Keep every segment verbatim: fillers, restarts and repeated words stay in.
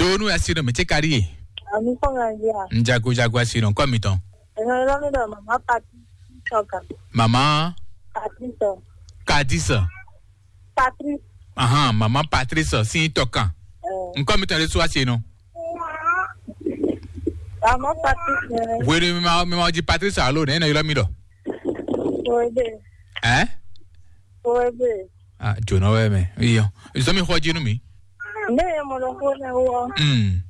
Ɖo nú asi nɔ mɛ ce ka ɖi ye. Ami kɔ nga ya. Njago jago asi nɔ kɔ mi tɔn. Ɛnɔ lɔ mi dɔ mama pati sɔga. Mama Pati sɔ. Kadisa. Patri. Ahan, mama Patrice si tɔ kan. Nkɔ mi tɔn de su asi nɔ. Mama pati sɔ. Wele mi ma mi ma di Patrice alo ne ne yɔrɔ mi dɔ. Oebe. Ɛ? Oebe. Ah, jona wɛ mɛ. Iyo. Izo mi xɔ jinu mi. Ne ye mɔ ɖokpó nɛ wɔ. Mm.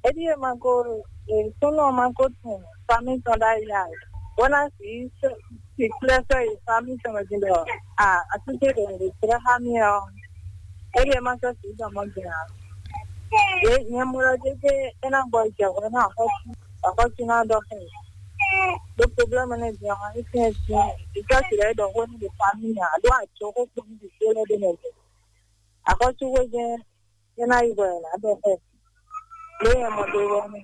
Edi ye ma ko, e, sunu ma ko tun fami tɔn da ya. Bona si si kple sɛ yi fami tɔn di dɔ. Ah, asike de de kple hami o. Edi ye ma sɔ si dɔ mɔ gina. E, nye mɔ ɖo dede ena bɔ jɛ wɔ na xɔ. Akɔsina dɔ xɛ. Do problème ne dia, isin isin. Ika si le dɔ xɔ ni de fami ya. Do a jo ko ko ni de le de ne. Akɔsu we jɛ. Ena yi bɔ na dɔ xɛ. Le ya mɔ do wɔ ne.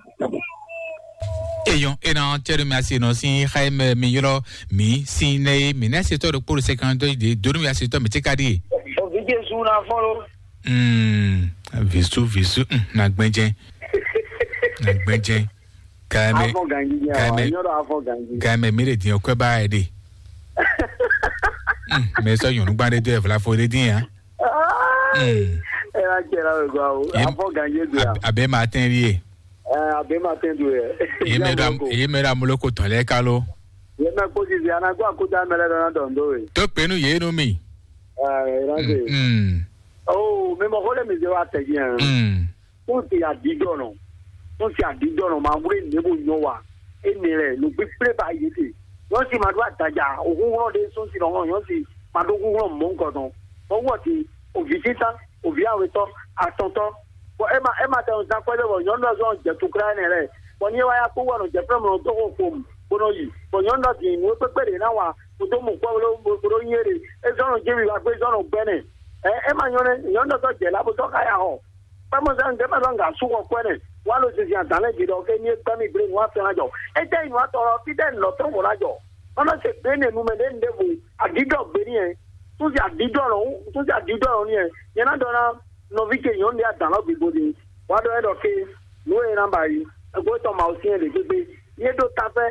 Eyɔn ena tɛri mi asi nɔ si xayi mɛ mi yɔrɔ mi si ne mi ne se tɔ ɖo kpolo se kan do de donu mi asi tɔ mi ti ka di. O vi Jesu na fɔ lo. Mm, visu visu, mm, na gbɛnjɛ. Na gbɛnjɛ. Kaime. Afɔ ganji ya. Kaime. Nyɔrɔ afɔ ganji. Kaime mi le din okwe ba ede. Mm, me so yonu gbande do evla fo de din ya. Mm. Ela jɛ la we gwa o. Afɔ ganji do ya. Abe ma ten lie. Eh, abe ma ten do ye. Ye me da, ye me da muloko tɔn lɛ kalo. Ye me ko sisi ana gwa ko da mele dɔn dɔn do ye. To penu ye no mi. Eh, ela de. Mm. Oh, me mo hole mi je wa te bien. Mm. Wọ́n ti àdídọ́nà, wọ́n ti àdídọ́nà máa wúlé nìyẹn bó nyɔ wa. Énɛ́ lɛ nǔ kpíkplé ba yě te. Nyɔ̌si ma ɖó adaja, òhúnhlɔ́n ɖé sún si nɔ́ nyɔ̌si ma ɖó húnhlɔ́n mɔ̌ nukɔn tɔn. Bɔ wɔ ti òvǐ títán, òvǐ awetɔ́, atɔntɔ́. Bɔ é ma é ma tɛ nɔ zán kwɛ́ ɖé bɔ nyɔ̌nu ɔ́ zɔ́n jɛ tukla énɛ́ lɛ. Bɔ ní é wá yá kpó wɔ nɔ jɛ fɛ́ mlɔ dó xo xom bó nɔ yi. Bɔ nyɔ̌nu ɔ́ din nǔ e kpékpé ɖě ná wa kó dó mɔ kwɛ́ bó ɖó bó ɖó nyí éɖe. É zɔ́n nɔ jéwi wá gbé zɔ́n nɔ gbɛ́nɛ. Ɛ é ma nyɔ́ nɛ́, nyɔ̌nu ɔ́ zɔ́ jɛ lá bó zɔ́ xá ya xɔ. Kpɛ́mɔzán ɖé mɛ ɖɔ nga sú xɔ kwɛ́ nɛ, wá lo zinzin adǎn lɛ́ɛ gbe ɖɔ ké ní é gbɛ́ mì gblé nǔ afɛn ná jɔ. Étɛ́ yi nǔ atɔ ɔ́, fítɛ́ nǔ lɔ tɔn vɔ ná jɔ. Ɔ́ nɔ se gbé nɛ nu mɛ ɖé nu ɖěvo, aɖǐɖɔ gbé n'i yɛ. Tún se aɖǐɖɔ lɔ, tún se aɖǐɖɔ lɔ n'i yɛ. Nyɛ ná ɖɔ ná nɔví ce nyɔ̌nu ɖé adǎn lɔ bǐ bó ɖe. Wá ɖɔ é ɖɔ ké, nǔ e ná ba yi, ẹgbẹ́ tɔn ma wo syɛ́n ɖě gbégbé. Ní é ɖó táfɛ́,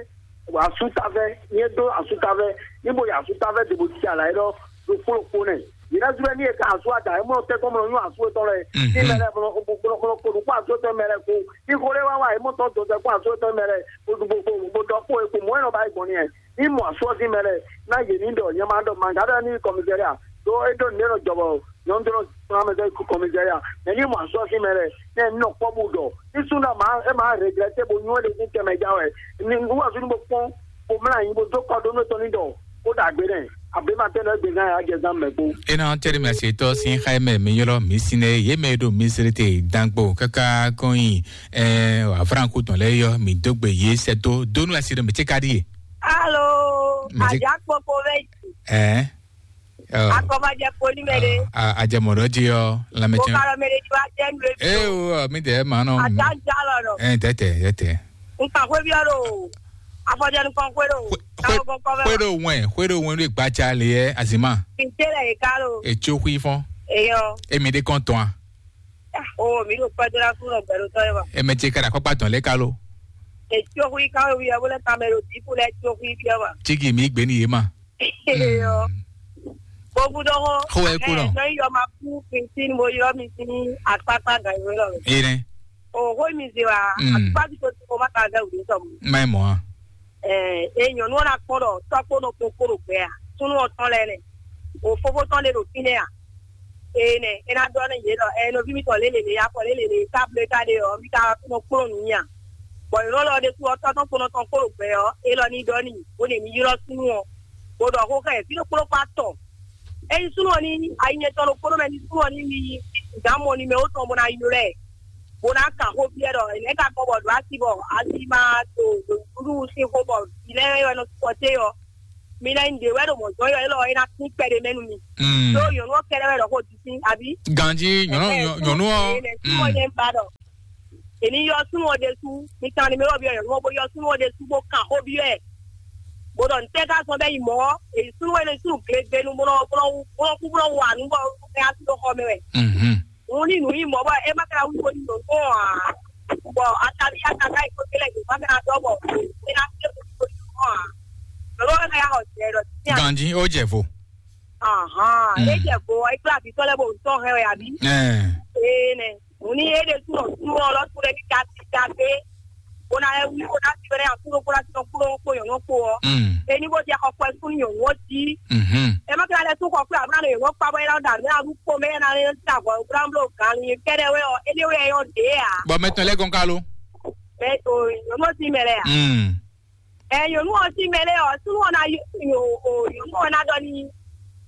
asú táfɛ́, ní é ɖó asú táfɛ́, ní bo yi asú táfɛ́ dě bó cí alǎ é ɖɔ ɖo kplɔ́kpó nɛ. Yě ná zú wɛ ní è ka asú ada, é mɔ tɛ́ kɔn mɔ nyú asú etɔn lɛ. Ní mɛ lɛ kplɔ́ kplɔ́ kplɔ́ kplɔ́ kplɔ́ asú etɔn mɛ lɛ kó. Ní xó ɖé wá wá, é mɔ tɔn dɔn tɛ́ kó asú etɔn mɛ lɛ. Bó ɖu bó bó bó ɖɔ kpó é kó mɔ é nɔ ba yi gbɔn ní ɛ. Ní mɔ asú ɔ́ sín mɛ lɛ, ná yě ní ɖɔ nyɛ ma ɖɔ manga ɖɔ ní kɔmizɛ́ria. Ɖó é ɖó nǔɖé nɔ jɔ bɔ nyɔ̌nu ɖó nɔ kplɔ́n mɛ dó kɔmizɛ́ria. Mɛ ní mɔ asú ɔ́ sín mɛ lɛ, ní ɛ ní nɔ kpɔ́ bó ɖɔ. Ní súnnu ma é ma regrɛtɛ bó nyɔ́ ɖe ní tɛmɛ já wɛ. Ní wúwasú ní bó kpɔ́n bó mlá anyi bó dó kɔ ɖó nú tɔn ní ɖɔ ó ɖagbe nɛ. Abe ma tɛn ɖɔ égbé gán ya jɛ zán mɛ kpó. Ena tɛri mɛ se tɔ sin xayi mɛ mi yɔlɔ mi sinɛ ye mɛ ɖo mi sere te dangbo kaka kɔnyi ɛ afranku tɔn lɛ yɔ mi dogbe ye sɛ to donu asi ɖe mi tse ka ɖi ye. Alo, Mɛ ti- Ajakpokpo bɛ ji. Ɛ. Akɔbajɛ kpo ní mɛ ɖe. Ajɛ mɔ ɖɔ ji ɔ lamɛ Mo tiɲɛ. Ka lɔ mɛ ɖe ti wa jɛ nu ebi. Ee o mi dɛ ma nɔ. Ata ja lɔ nɔ. Ɛ tɛtɛ tɛtɛ. Nka xwe bi ɔlo. Afɔjɛ nukɔn xwe ɖo. Xwe ɖo wɛn xwe ɖo wɛn ɖo gbatsa le yɛ azima. Kinte lɛ yi ka lo. Etso xui fɔn. Eyɔ. Emi ɖe kɔn tɔn a. O mi ɖo kpɛdó la fún lɔ gbɛɖo tɔ yɛ wa. Eme tse ka ɖe akɔkpa tɔn lɛ ka lo. Etso xui ka lo wi ɛ bo lɛ tamɛ ɖo diku lɛ etso xui bi ɛ wa. Tsigi mi gbe ni ye ma. Eyɔ. Gbogbo dɔ hɔn. Xo wɛ ku nɔ. Nɔ yɔ ma ku kintin mo yɔ mi sin akpakpa gan yi lɔ. Ene. O xo mi se wa. Akpa ti ko ti ko ma ka vɛ wuli sɔmu. Ma mɔ a. Ɛ e nyɔnu ɔ́ ná kpɔ́n ɖɔ tɔ́kpó nɔ kpɔn kpó ɖo gbɛ a súnú ɔ́ tɔn lɛ́ɛ nɛ o fofó tɔn ɖe ɖo fínɛ́ a ee nɛ é ná ɖɔ nú yě ɖɔ ɛ nɔví mitɔn lě lě lě afɔ lě lě lě ká blé ká ɖe ɔ́ mi ka nɔ kplɔ́n nǔ nyi a bɔ nyɔ̌nu ɔ́ lɔ ɖésú ɔ́ tɔ́ tɔn kpónɔ tɔn kpó ɖo gbɛ ɔ́ é lɔ ní ɖɔ n'i bó ɖe mi ylɔ́ súnú ɔ́ bó ɖɔ xó xá ɛ fí ɖokpó ɖokpó atɔn é nyí súnú ɔ́ ní ayi nyɛtɔn ɖokpó ɖó mɛ ní súnú ɔ́ ní mi gǎn mɔ ní mɛ ó tɔn bó ná ylɔ́ ɛ bó ná kan xó byɔ́ ɖɔ nɛ̌ ka gbɔ bɔ ɖǒ asi bɔ asi ma ɖo nǔɖuɖu sín xó bɔ vǐ lɛ́ɛ wɛ nɔ sukpɔté ɔ́, mi ná nyí ɖě wɛ ɖo mɔ̌ zɔ́n ɔ́, élɔ́ é ná sín kpɛɖé mɛ nú mi. Ɖó nyɔ̌nu ɔ́ kɛ́ɖɛ́ wɛ ɖɔ xó ɖi sín, abǐ? Ganjí nyɔ̌nu Ɛhɛn, nyɔ̌nu ɔ́. Súnnu ɔ́ nyɛ ba ɖɔ. Èmi yɔ súnnu ɔ́ ɖésú, mi kan ni mi wɔ byɔ́ nyɔ̌nu ɔ́, bó yɔ súnnu ɔ́ ɖésú bó kan xó byɔ́ ɛ. Bó ɖɔ ntɛ́ ka zɔn bɛ́ yi mɔ̌, èyí súnnu wɛ ní súnnu glegbenu bó nɔ bó nɔ bó nɔ kú bó nɔ wa nǔ bɔ é ná sí ɖó xɔ mɛ wɛ. Mhm. Òun ní nǔ yí mɔ̌ bɔ é má ka wí bó ní nǔ gbɔn ǎ. Bɔ ataví ataká yi kó télé yě má ka dɔ́ bɔ é ná télé bó ní nǔ gbɔn ǎ. Lọ́wọ́ ká yá xɔ jɛ lɔ sí à. Ganji, ó jẹ vo. Ahán, Mm. é jẹ vo, é kplá àbí tɔ́ lɛ bó ń tɔ́ hɛn wɛ àbí? Ẹ. Ee nɛ. Òun ní é ɖe súnmọ́ súnmọ́ lɔ tún lɛ ní ka ti ka gbé. Ona e wuli ona ti bɛrɛ ya kuɖo kura ti nɔ kuɖo kpo yɔn nɔ kpo ɔ. Mm. Eni bo dia xɔ kpɛ sun yɔn wɔ ti. Mhm. E ma kila lɛ sun xɔ kpɛ abuna le yɔn kpa bɔ ena da mɛ aɖu kpo mɛ ena le ti avɔ bla blo gan ni kɛɖɛ wɛ ɔ eni wɛ yɔ de a. Bɔ mɛ tɔn lɛ gɔn ka lo. Mɛ o yɔn nɔ ti mɛ lɛ a. Mm. Ɛ yɔn nɔ ti mɛ lɛ ɔ sun wɔna yɔ o yɔn nɔ na dɔ ni.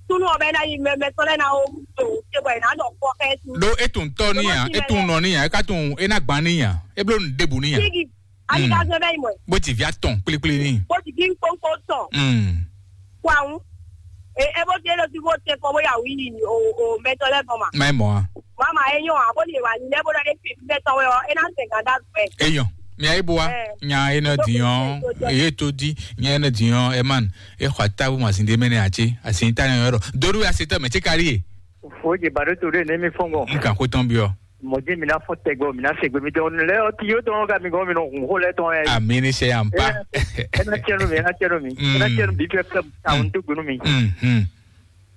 Sunu ɔbɛ na yi mɛ mɛ tɔn lɛ na o to te bɔ ena dɔ kɔ kɛ tu. Ɖó e tun tɔ ní ya, e tun nɔ ní ya, e ka tun e na gban ní ya, e bló nu ɖebu ní ya. Sigi, ali ka zɔn bɛ yi mɔ. Bó ti via tɔn kplikpli ní. Bó ti kí n kpónkpó tɔn. Mm. Kó àwọn. E e bó ti e lọ sí bó tẹ kọ bóyá wí o o mɛ tɔn lɛ gbɔn ma. Má mɔ a. Mama e nyɔ a bó ni wa ni lɛ bó lɔ e fi mɛ tɔn wɛ ɔ e na sɛ ganda gbɛ. Eyɔn, mi ayi bo wa. Nya e nɔ dinyɔ, eye to di, nya e nɔ dinyɔ, e man, e xɔ atabu masin de mɛ ne a ce, asin ta ne yɔrɔ. Doru ya se tɔ mɛ ce kari ye. Fo je ba ɖo to ɖe ne mi fɔn gɔn. N kan ko tɔn bi ɔ. Mɔdé mi ná fɔn tɛgbɛ mi ná se gbe mi tɔn lɛ ɔ ti yóò tɔn ka mi gɔn mi nɔ hun xó lɛ tɔn yɛ. Ami ni sɛ yan pa. Ena tiɛnu mi, ena tiɛnu mi, ena tiɛnu bi fɛ fɛ ta n to gbenu mi. Mhm.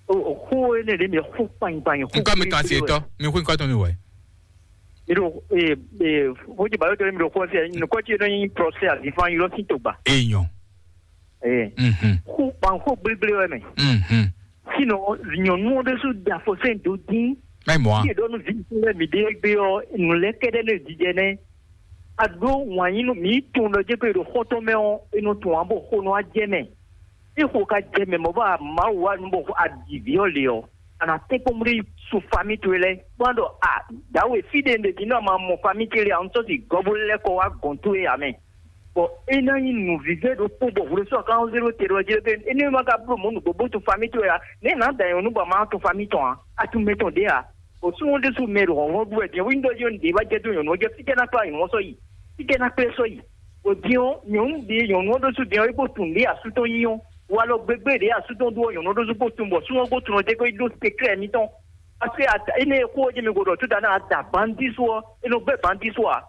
O o xó ne de mi xó kpanyi kpanyi xó. Nkɔ mi kan se tɔ, mi xó nkɔ tɔn mi wɛ. Mi ɖo ee ee xó je ba yóò tɔn mi ɖo xó se nukɔ ti yɛ nɔ nyi prɔsɛ azifan yɔrɔ si to gba. Eyɔn. Ee. Mhm. Xó kpan xó gblégblé wɛ mɛ. Mhm. Sinɔ nyɔnu ɔ́ ɖésú da fɔ sɛn dó dín. Mɛ mɔ a. Yé ɖɔ nú vi lɛ mi ɖe gbé ɔ nù lɛ kɛɖɛ ne jijɛ nɛ. A ɖó wǎn yí nú mi tun ɖɔ jɛ pé ɖo xɔtɔn mɛ ɔ e nɔ tun abo xo nɔ a jɛ mɛ. E xo ka jɛ mɛ mɔ bɔ a ma wa nu bɔ a ɖi vi ɔ le ɔ. A na tɛ kpɔn ɖe su fami towe lɛ kpɔn ɖɔ a dawe fi ɖe ɖe di nɔ ma mɔ fami towe lɛ a n sɔ si gɔbo lɛ kɔ wa gɔn towe a mɛ. Bɔ é ná nyí nǔvívɛ́ ɖokpó bɔ hwlɛ́sɔ́ kan zéro te ɖɔ jɛ pé énɛ́ ma ka bló mɔ̌ nǔgbó bó tun famí towe ǎ. Nɛ̌ nǎ da nyɔ̌nu bɔ a ma tun famí tɔn ǎ? A tun mɛ tɔn ɖě ǎ. Bɔ súnnu ɖésú mɛ ɖo hlɔ̌nhlɔ́n ɖu wɛ din wí ɖɔ yɔ nǔɖé wá jɛ dó nyɔ̌nu ɔ́ jɛ fítɛ́ ná kplá nyɔ̌nu ɔ́ sɔ́ yi? Fítɛ́ ná kplé sɔ́ yi? Bɔ din ɔ́, nyɔ̌nu ɖě nyɔ̌nu ɔ́ ɖésú din ɔ́, é kpo tun ɖě asú tɔn nyí ɔ́, walɔ gbégbé ɖě asú tɔn ɖu ɔ́, nyɔ̌nu ɔ́ ɖésú kpo tun bɔ súnnu ɔ́ kpo tun ɔ́ jɛ kó yi ɖó seklɛ́ mǐtɔn. Parce que ata ene xó ɔ́ jɛ mi ko ɖɔ tuta na ada bandi so ɔ́, e nɔ gbɛ bandi so a?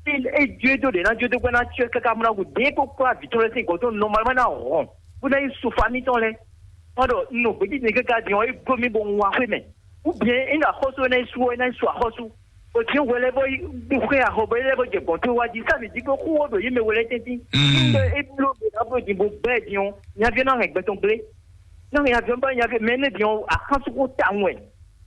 E e jo e do ɖe na jo do gbɛ na tiɛ kaka muna ko de ko kpla vi tɔn lɛ sin gɔtɔ normalement na hɔn. Bó ná yi so famille tɔn lɛ. Ɔn ɖɔ nɔ gbɛdzi ne kaka di ɔn e gbɔ mi bɔ un wa xwe mɛ. Ou bien e na xɔsu e na yi su ɔ e na yi su axɔsu. O ti wɛ lɛ bɔ yi xwe axɔ bɔ e lɛ bɔ jɛ gɔn to wa di sa mi di ko xó wɔ ɖo yi mɛ wɛ lɛ tɛntin. Mm. E blo bo na blo di bo gbɛ di ɔn. Nyavi na hɛn gbɛtɔn gble. Nyavi na hɛn aviɔn ba nyavi mɛ ne di ɔn axan suku ta wɛ.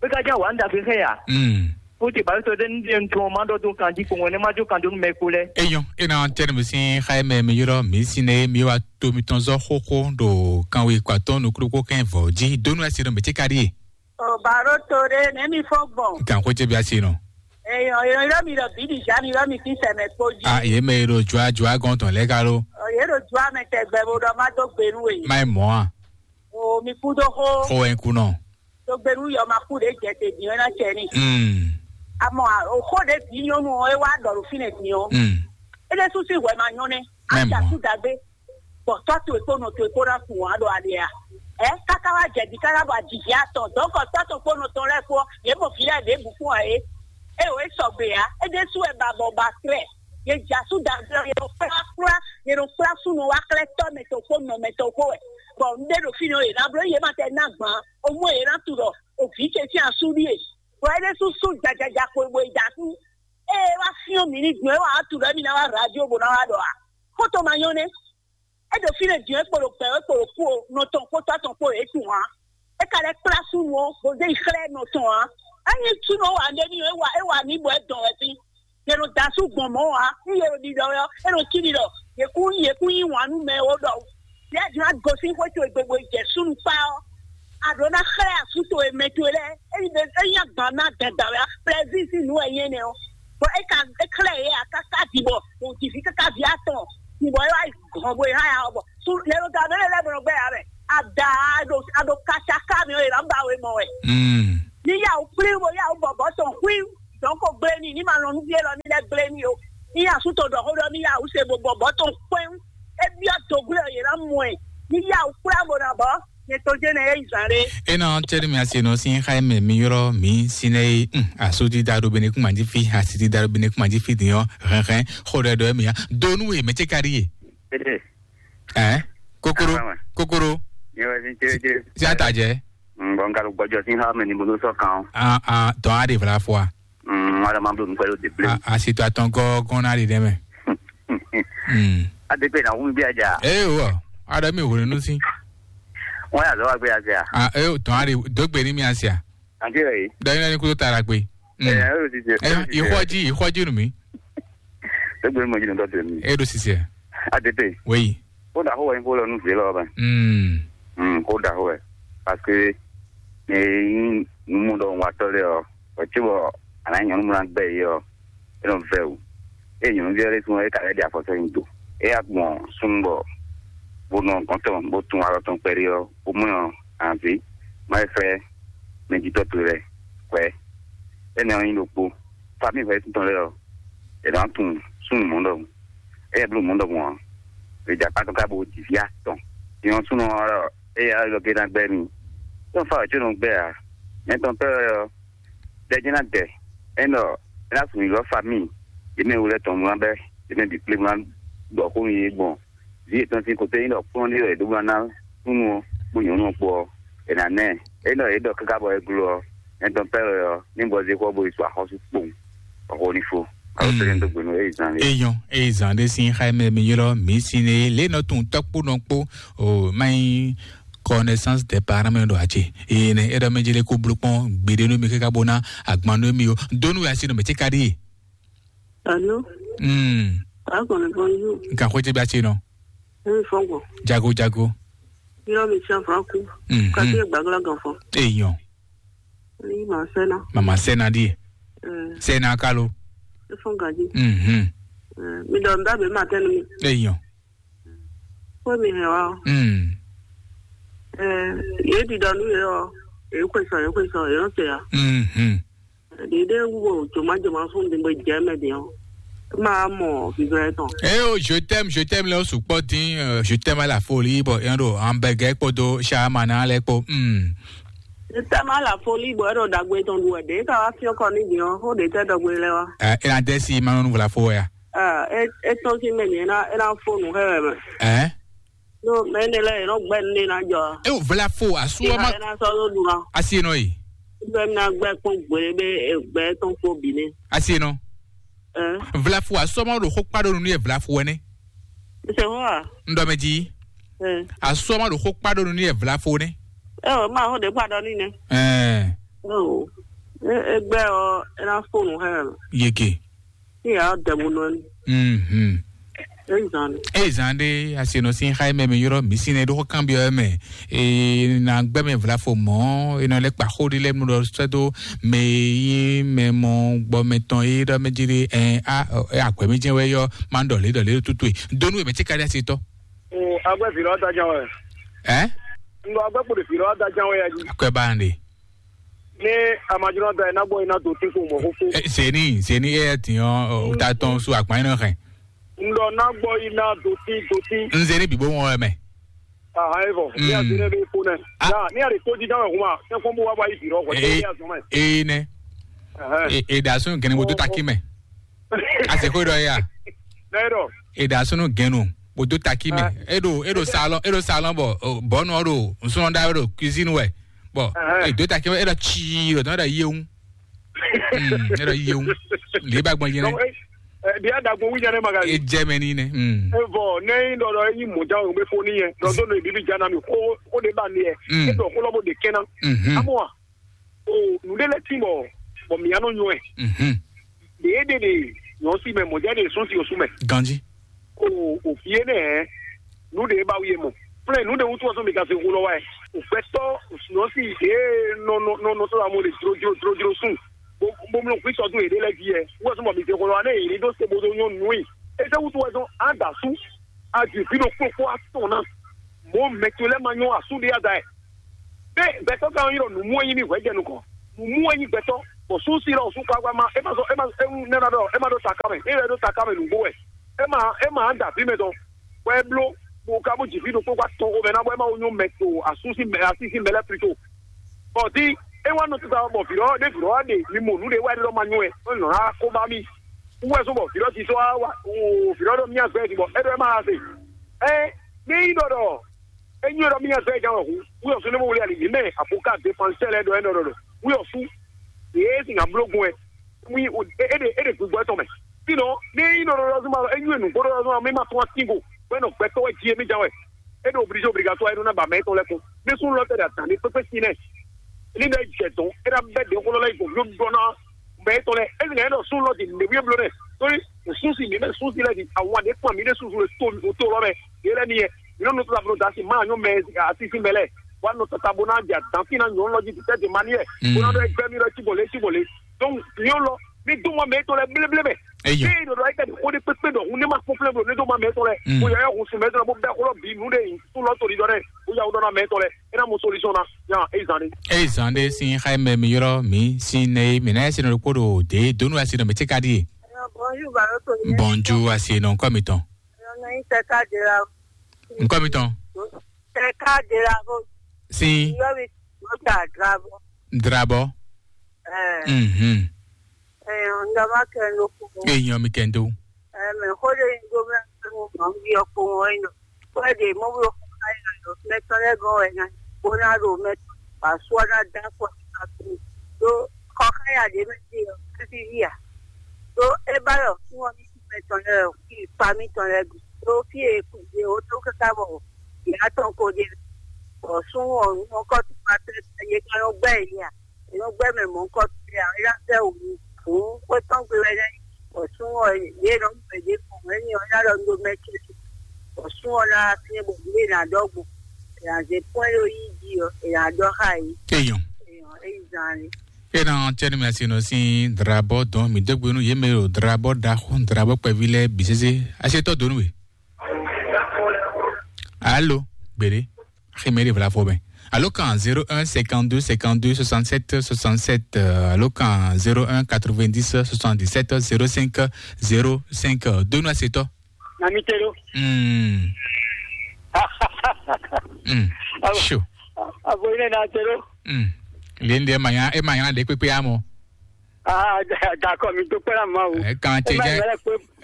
Bɛ ka jɛ wa n dagbe xɛ ya. Mm. Ko te ba to de n de n tɔn ma dɔ to kan di ko wɛ ne ma jo kan do nu mɛ ko lɛ. Eyɔn, e na tɛnɛ mi sin xa mɛ mi yɔrɔ mi sin ne mi wa to mi tɔn zɔ xóxó ɖo kanwe kpatɔn nukúlùkù kɛn vɔ jí donu asi ɖo mi ti ka ɖi ye. O baro to ɖe ne mi fɔ gbɔn. Kan ko jɛ bi asi nɔ. Eyɔn, eyɔn yɔrɔ mi ɖɔ bi di ja mi yɔrɔ mi ti sɛmɛ kpo jí. A ye mɛ yɔrɔ jua jua gɔn tɔn lɛ ka lo. O ye ɖo jua mɛ tɛgbɛ bo ɖɔ ma do gbenu e. Ma ye mɔ a. O mi kú dó xó. Xó wɛ ń kú nɔ. Tó gbé nú yɔ ma kú ɖě jɛ te din ɔ́ ná cɛ ní. Mm. Amɔ a- o xó ɖě bǐ nyɔ́nu ɔ́ é wá ɖɔ ɖo fínɛ́ din ɔ́. Mm. É ɖésú sín hwɛ ma nyɔ́ nɛ́. Mɛ Á jà mɔ. Sú dagbe. Bɔ tɔ́ towe kpó nɔ towe kpó ná kun wǎn ɖo ali a? Ɛ káká wá jɛ di káká bɔ ajijɛ atɔn dɔ̌nkɔ tɔ́ tɔn kpó nɔ tɔn lɛ́ɛ kpó ɔ́, yě mɔ vǐ lɛ́ɛ ɖěbǔ fún ǎ é. É o é sɔgbe ǎ. É ɖésú wɛ ba bɔ ba trɛ. Yě jà sú dagbe ɔ́, yě nɔ kplá kplá, yě nɔ kplá súnnu wá xlɛ́ tɔ́ mɛ tɔn kpó nɔ mɛ tɔn kpó wɛ. Bɔ un ɖe ɖo fínɛ́ ɔ́, yě ná bló yě ma tɛ ná gbǎn. O mɔ yě ná tunɔ o vǐ ce sín asú ɖíe. Bɔ é ɖésú sú jajaja xwe bo yi da asú. Ée é wá fyɔ́n mǐ ní gbɔn é wá tunɔ émí ná wá radio bó ná wá ɖɔ a? Xótó ma nyɔ́ nɛ́. É ɖo fínɛ́ din é kpo ɖo gbɛ̌ é kpo ɖo kú o, nɔ tɔn kpó tɔ́ tɔn kpó é tunwun ǎ. É ka lɛ́ kplá súnnu ɔ́, bó zé yi xlɛ́ nɔ tɔn ǎ. Ényí súnnu ɔ́ wa nɖé n'i ɔ́, é wa é wa nǐ bɔ é dɔn wɛ sín. Yě nɔ da asú gbɔn mɔ̌ ǎ, nú yě ɖo ɖiɖɔ wɛ ɔ́, é nɔ cí ɖiɖɔ. Yě kún yě kún yí wǎn nú mɛ e ó ɖɔ. Yě din ná gosín xwé towe gbe bo yi jɛ súnnu kpá ɔ́, a ɖǒ ná xlɛ́ asú towe mɛ towe lɛ́ɛ. Ényí ɖe ényí agban ná dandan wɛ ɔ́, plɛzín sín nǔ wɛ nyí énɛ́ ɔ́. Bɔ é ka é xlɛ́ yě ǎ káká din bɔ wǒ ji vǐ káká vǐ atɔn. Din bɔ é wá yi gɔn bo yi há ya ɔ́ bɔ sú lɛ́ ɖo da mɛ lɛ́ lɛ́ bɔ nɔ gbɛ ya mɛ. Ada a ɖo a ɖo kaca ká mi ɔ́, yě ná ba we mɔ wɛ. Mm. Ní yà wó kplí bo yà wó bɔbɔ tɔn xwí dɔn ko gblé ní ní ma lɔn nú fí élɔ́ ní lɛ́ gblé ní o. Ní yà sú to ɖɔ xó ɖɔ ní yà wó se bo bɔbɔ tɔn kpɛ́n. É byɔ́ dǒglé ɔ́ yě ná mɔ ɛ. Ní yà wó kplá bo ná bɔ Ye to jɛ ne e zan ɖe. Ena cɛɖi mi ase nɔ sin xa mɛ mi yɔrɔ mi sinɛ yi. Asu ti da ɖo bene kuma ji fi, asi ti da ɖo bene kuma ji fi din ɔ. Hɛn hɛn xo ɖɛ ɖɔ mi ya donu ye mɛ ce ka ɖi ye. Ɛ kokoro. Kokoro. Nyɛ wɛ sin cɛɖi cɛɖi. Si ata jɛ. Bɔn n ka ɖo gbɔjɔ sin xa mɛ ni bo ɖo sɔ kan o. Ah ah, dɔn a ɖe vla fɔ a. Ŋmala ma bló nukpɛ ɖo deblé. A si to atɔn gɔ́gɔ́n ná ɖi ɖɛmɛ. Ade pe na wu mi bí aja. Ee wɔ, aɖe mi hwenu nu si. Wọn yà lọ wá gbé ase a. A ee tɔn aɖe dógbe ní mi ase a. Àti rẹ yìí. Dɔnyi lẹni kúrò tara gbe. Ẹ ẹ yóò ti tẹ. Ẹ ìxɔji ìxɔji nu mi. Dógbe ní mo jí nìkan tẹ mi. E ɖo sisi ɛ. Ade pe. Wei. Kódà xó wɛ nyí xó lɔ nú vǐ lɔ bɛ. Mm. Mm, kódà xó wɛ. Parce que ne nyí numúɖɔwatɔ́ lɛ́ɛ ɔ́, wɛ̌ cóbɔ a nǎ nyí nyɔ̌nu mlá gbɛ́ yě ɔ́, é nɔ vɛ́ wǔ. Ée nyɔ̌nuví ɔ́ ɖésú ɔ́, é ka lɛ́ ɖi afɔ sɔ́ nyi do. É yá gbɔn súnnu bɔ bó nɔ gɔ̌n tɔn bó tún alɔ tɔn kpɛɖé ɔ́, bó mɔ ɔ́, anvǐ má é fɛ́ mɛjitɔ́ towe lɛ́ɛ hwɛ̌. Énɛ́ ɔ́ nyí ɖokpó. Famíi hwɛ̌ tɔn lɛ́ɛ ɔ́, è nǎ tunwun súnnu mɔ̌ ɖɔhun. Éyɛ́ bló mɔ̌ ɖɔhun ɔ́, è jɛ akpá tɔn káká bó ji vǐ atɔn. Nyɔ̌súnɔ ɔ́ ɖɔ éyɛ́ ɔ́ lɔ gé ná gbɛ́ mì. Tɔ́n fa wɛ̌ có nɔ gbɛ́ ǎ. Nyɛ tɔn pɛ́ wɛ ɔ́, ɖɛjɛ́ ná dɛ. É ɖɔ é ná sun nyǐlɔ́ famíi yě mɛ e wú lɛ́ɛ tɔn mlá bɛ́ yě mɛ bǐ kplé mlá ɖɔ xó nú yě gbɔn vǐ yětɔn sín kotɛ́ nyí ɖɔ kplɔ́n ɖé wɛ è ɖǒ ná ná súnnu ɔ́ kpó nyɔ̌nu ɔ́ kpó ɔ́, è nǎ ná ɛ. É ɖɔ yě ɖɔ káká bɔ é gló ɔ́, nyɛ tɔn pɛ́ wɛ ɔ́, ní gbɔzé xɔ bó yi sɔ axɔ́sú kpowun, bɔ xó ní fó. Alo tɛ́ nyɛ dó gbe nú Ezan lé. Eyɔn, Ezan ɖé sín xá mɛ mi ylɔ́ mǐ sín é lě nɔ tunwun tɔ́ kpó nɔ kpó o má nyí connaissance des parents mɛ ɖo acé. Eye nɛ é ɖɔ mɛ jélé kó bló kpɔ́n gbeɖé nú mi káká bó ná agban nú mi o. Dónú ya sí nɔ mɛ tí ka ɖíe. Alo. Hmm. Akɔni bonjour. Nkan xwé tɛ bí a ti nɔ. Eyi fɔgbɔ. Jago jago. Yɔrɔ mi tiɲɛ fɔ aku. Mhm. Kati egbagla gan fɔ. Eyɔn. Eyi ma sɛna. Mama sɛna di. Eh. Sɛna kalo. Efɔn gaji. Mhm. Eh, mi dɔn da be ma tɛnu mi. Eyɔn. Kó mi hɛn wa. Hmm. Eh, ye di dɔn nu ye ɔ. Ye kwesɔ ye kwesɔ ye ɔ se ya. Mhm. Ɖiɖe wú joma joma fún mi bó jɛ mɛ din ɔ. Ma mɔ vivɛ tɔn. Eh oh, je t'aime, je t'aime lɛ o sukpɔ din, euh, je t'aime à la folie bɔ yɛn ɖo hamburger kpódó shawarma ná lɛ kpó. Hmm. Je t'aime à la folie bɔ ɛɖɔ dagbe tɔn ɖu ɛɖe ka wá fiɔ kɔ ní din ɔ, xó ɖe tɛ dɔgbe lɛ wa. Eh, e na dɛ si ma nɔ nu vla fo ya. Ah, e e tɔn si mɛ ni e na e na fo nu xɛ wɛ mɛ. Eh? No, mɛ ne lɛ e nɔ gbɛ ne na jɔ. E o vla fo asu Ìhà ma ẹ̀ na sɔ́ ló dùn ná. Asi e nɔ yi. Bɛ mi na gbɛ kpɔn gbele bɛ gbɛ tɔn kpɔ bi ne. Asi e nɔ. Ɛn. Vla fo asu ma ɖo xó kpa ɖo nu yɛ vla fo wɛ ne. Ṣe hó a? N ɖɔ mɛ jí. Ɛn. Asu ma ɖo xó kpa ɖo nu yɛ vla fo ne. Ɛ o ma xó de kpa ɖɔ ni ne. Ɛn. Ɛ o. E e gbɛ ɔ e na fo nu hɛ. Yeke. Iya dɛmu nɔ ni. Mhm. Ezan. Ezan ɖe asenɔ sin xa mɛ mi yɔrɔ mi sin ne ɖo kan bi mɛ. E na gbɛ mɛ vla fo mɔ e nɔ lɛ kpa xo ɖi lɛ mu ɖɔ sɛ do mɛ yi mɛ mɔ gbɔ mɛ tɔn yi ɖɔ mɛ ji ɖe ɛ a ɛ agbɛ mi jɛ wɛ yɔ ma ɖɔ le ɖɔ le tutu e donu mɛ ti ka ɖi asi tɔ. O agbɛ fi lɔ ta jan wɛ. Ɛ. N ɖɔ agbɛ kpo ɖe fi lɔ ta jan wɛ ya ji. Akɔɛ ba ɖe. Ní amajunɔ da ẹ̀ ná gbọ́ iná tó tí kò mọ̀ kókó. Ɛ, zeni zeni e yɛ tiɲɔ o ta tɔn so akpa yín nɔ hɛn. N ɖɔ ná gbọ́ iná tó tí tó tí. N zeni bìbó wọn wɛ mɛ. Ahan e vɔ ní a zeni bɛ kó nɛ. Ya ní a lè tó jí dáhùn ẹ̀hún ma ní fún bó wá wáyé bìrọ̀ kò tẹ́ ní a zɔn mẹ́. Ee nɛ. Ɛhɛn. E e da sun gɛnɛ mo tó taki mɛ. A se ko dɔ ya. N'e dɔ. E da sun gɛnɛ mo tó taki mɛ. E do e do salon e do salon bɔ bɔnu ɔ do nsúnɔ da do cuisine wɛ. Bɔn e do ta kɛ e ɖɔ tsii ɖɔ tɔn e ɖɔ yewu. E ɖɔ yewu. Lè ba gbɔn yɛn. Bi a dagbo wu jɛnɛ ma ka. E jɛ mɛ ni nɛ. E vɔ ne yi dɔ dɔ e yi mɔ ja o be fo ni yɛ dɔ do no ebi bi ja na mi ko ko de ba ni yɛ e dɔ ko lɔ bo de kɛn na. Amu wa o nu de lɛ ti bɔ bɔ mi ya nɔ nyɔ ɛ. Ɖě ɖe ɖe nyɔ̌si mɛ mɔ̌ jɛ ɖe sún si osú mɛ. Ganji. O o fie nɛ hɛn nu ɖe ba wie mɔ. Flɛ nu ɖe wutu ɔsɔ mi ka se hu lɔ wa ɛ. O gbɛtɔ nyɔ̌si ɖe nɔ nɔ nɔ nɔ tɔ la mo le dro dro dro dro sun. Bo bo mlɔ kwi sɔdun yɛ ɖe lɛ di yɛ. Wɔ sɔmɔ mi se hu lɔ wa ne yɛ ɖo se bo do nyɔ nu yi. Ese wutu wɛ sɔn an da su. A di fi ɖo kpokpo atɔn na. Mo mɛ to lɛ ma nyɔ asu ɖe ya da yɛ. Be gbɛtɔ kan yi ɖɔ nu mu enyi mi hwɛ jɛ nukɔn. Mu mu enyi gbɛtɔ. Bɔ su si lɔ su kpakpa ma e ma sɔ e ma e ne na ɖɔ e ma ɖo ta kamɛ e yɛ ɖo ta kamɛ nugbo wɛ. E ma e ma da fi mɛ tɔn. Wɛ blo. Kpo ka bó jǐ fí ɖokpó kpó atɔn xomɛ ná bɔ é má wo nyɔ́ mɛ to asú sín mɛ así sín mɛ lɛ́ɛ plito. Bɔ din é wá nɔ tuta bɔ vǐ lɔ ɖé vǐ lɔ wá ɖe mi mɔ nǔ ɖé wá ɖe lɔ ma nyɔ́ wɛ é nɔ ná kó bá mì. Wú wɛ sɔ́ bɔ vǐ lɔ ti sɔ́ wá wá o vǐ lɔ ɖɔ mía zɔ ɛ din bɔ é ɖɔ é má ha se. Ɛ ní nyí ɖɔ ɖɔ é nyí ɖɔ mía zɔ ɛ gán wɛ hu wú yɔ sɔ́ ní mo wlé ali yě mɛ àbúká dé pansɛ lɛ ɖɔ é nɔ ɖɔ ɖɔ wú yɔ sú yě é sin nya bló gun wɛ. Mú é ɖe é ɖe gbígbó ɛtɔn mɛ. Sinɔ ní é nyí nɔ ɖɔɖɔ zuma é nyí nǔgbó ɖɔɖɔ zuma mɛ ma tún atín go bɔ é nɔ gbɛtɔ́ wɛ jí émí ján wɛ. É ɖo obligé obligatoire é nɔ ná ba mɛ étɔn lɛ́ɛ kún ní sún lɔ tɛ ɖe atǎn ní kpékpé sin nɛ ní ɖɔ é jɛ dɔn é ná bɛ ɖě xó lɔ lɛ́ yi gbɔn yó ɖɔ ná mɛ étɔn lɛ́ɛ é zin ɛ ɖɔ sún lɔ di nɖe wíyé bló nɛ torí sún si mǐ mɛ sún si lɛ di àwọn àdé kpɔn mǐ ɖe susu le tó tó lɔ mɛ yé lɛ ní yɛ mǐ nɔ nɔ tó ta blo da si má nyɔ mɛ asi si mɛ lɛ wa nɔ tata bo ná jɛ adǎn fín ná nyɔ lɔ jí tɛ di ma ní yɛ bó ná ɖɔ ẹgbẹ́ mi lɔ tí bò lé tí bò lé donc nyɔ lɔ ní dó mɔ mɛ tɔn lɛ bléblé mɛ Eyo. Ní ìdòdò ayé kẹ́ni kó ní pépé dọ̀ hun ní ma kpɔ́n flẹ́ blo ní dó mɔ mɛ tɔn lɛ Mm. Bó yɛ yɛ hun sùn mɛ tɔn lɛ bó bɛ xó lɔ bǐ nǔ ɖe yìí tún lɔ tó ní dɔ dɛ bó yà wó dɔ ná mɛ tɔn lɛ é ná mɔ solution ná yà é zan ní. Eyi zan ɖe sin xayi mɛ mi yrɔ mi sin ne mi na yɛ sin ɖokpo ɖo de donu asi nɔ mi tse ka ɖi. Bonjour, Baroto. Bonjour, asi nɔ nkɔ mi tɔn. Nkɔ mi tɔn. Sin. Drabɔ. Mhm. Eyan mi kɛndo. Eme xo ɖe nyi ɖo mɛ mo ma wi ɔkpo ŋɔ yin ko e ɖe mo wi ɔkpo ka yin ɖo mɛ tɔn lɛ gɔn wɛ na bo na ɖo mɛ tɔn ba sua na da kɔ na tu do kɔ ka ya ɖe mɛ ti ɔ ti vi ya do e ba yɔ fún ɔ ní mɛ tɔn lɛ ki pa mi tɔn lɛ gu do fi e ku ɖe o to kaka bɔ ya tɔn ko ɖe bɔ sún ɔ nu ɔ kɔ tu ma tɛ ye ka nɔ gbɛ yi ya. Nɔ gbɛ mɛ mɔ̌ kɔ tɛ ǎ, é ná sɛ́ wǔ hǔn xwé tɔn gbe wɛ nɛ́. Bɔ súnnu ɔ́, yě nɔ mɛ ɖě kɔn wɛ ní ɔ́ ná ɖɔ nú mɛ ce bɔ súnnu ɔ́ ná wá fínɛ́ bɔ nǔ e è nǎ ɖɔ gbɔn è nǎ zé pɔ́n é ɖó yí jí ɔ́, è nǎ ɖɔ xá yě. Eyɔn. Eyɔn, é yi zan lé. Ena cɛni mɛ si nɔ si drabɔ dɔn mi degbe nu ye me ɖo drabɔ ɖaxó drabɔ kpɛvi lɛ bi sese asetɔ donu we. Alo, gbede. Ximɛ ɖe vla fɔ mɛ. Alo kan zéro un cinquante deux cinquante deux soixante sept soixante sept, alo kan zéro un quatre vingt dix soixante dix sept zéro cinq zéro cinq. Donu asetɔ. Na mi te ɖo. Hmm. Hmm. Abo. Sure. Abo yi ne na te ɖo. Hmm. Lende manya e manya de kpekpe amo. Ah, d'accord, mi dúpẹ́ lá máa o. Ẹ kàn ṣe jẹ́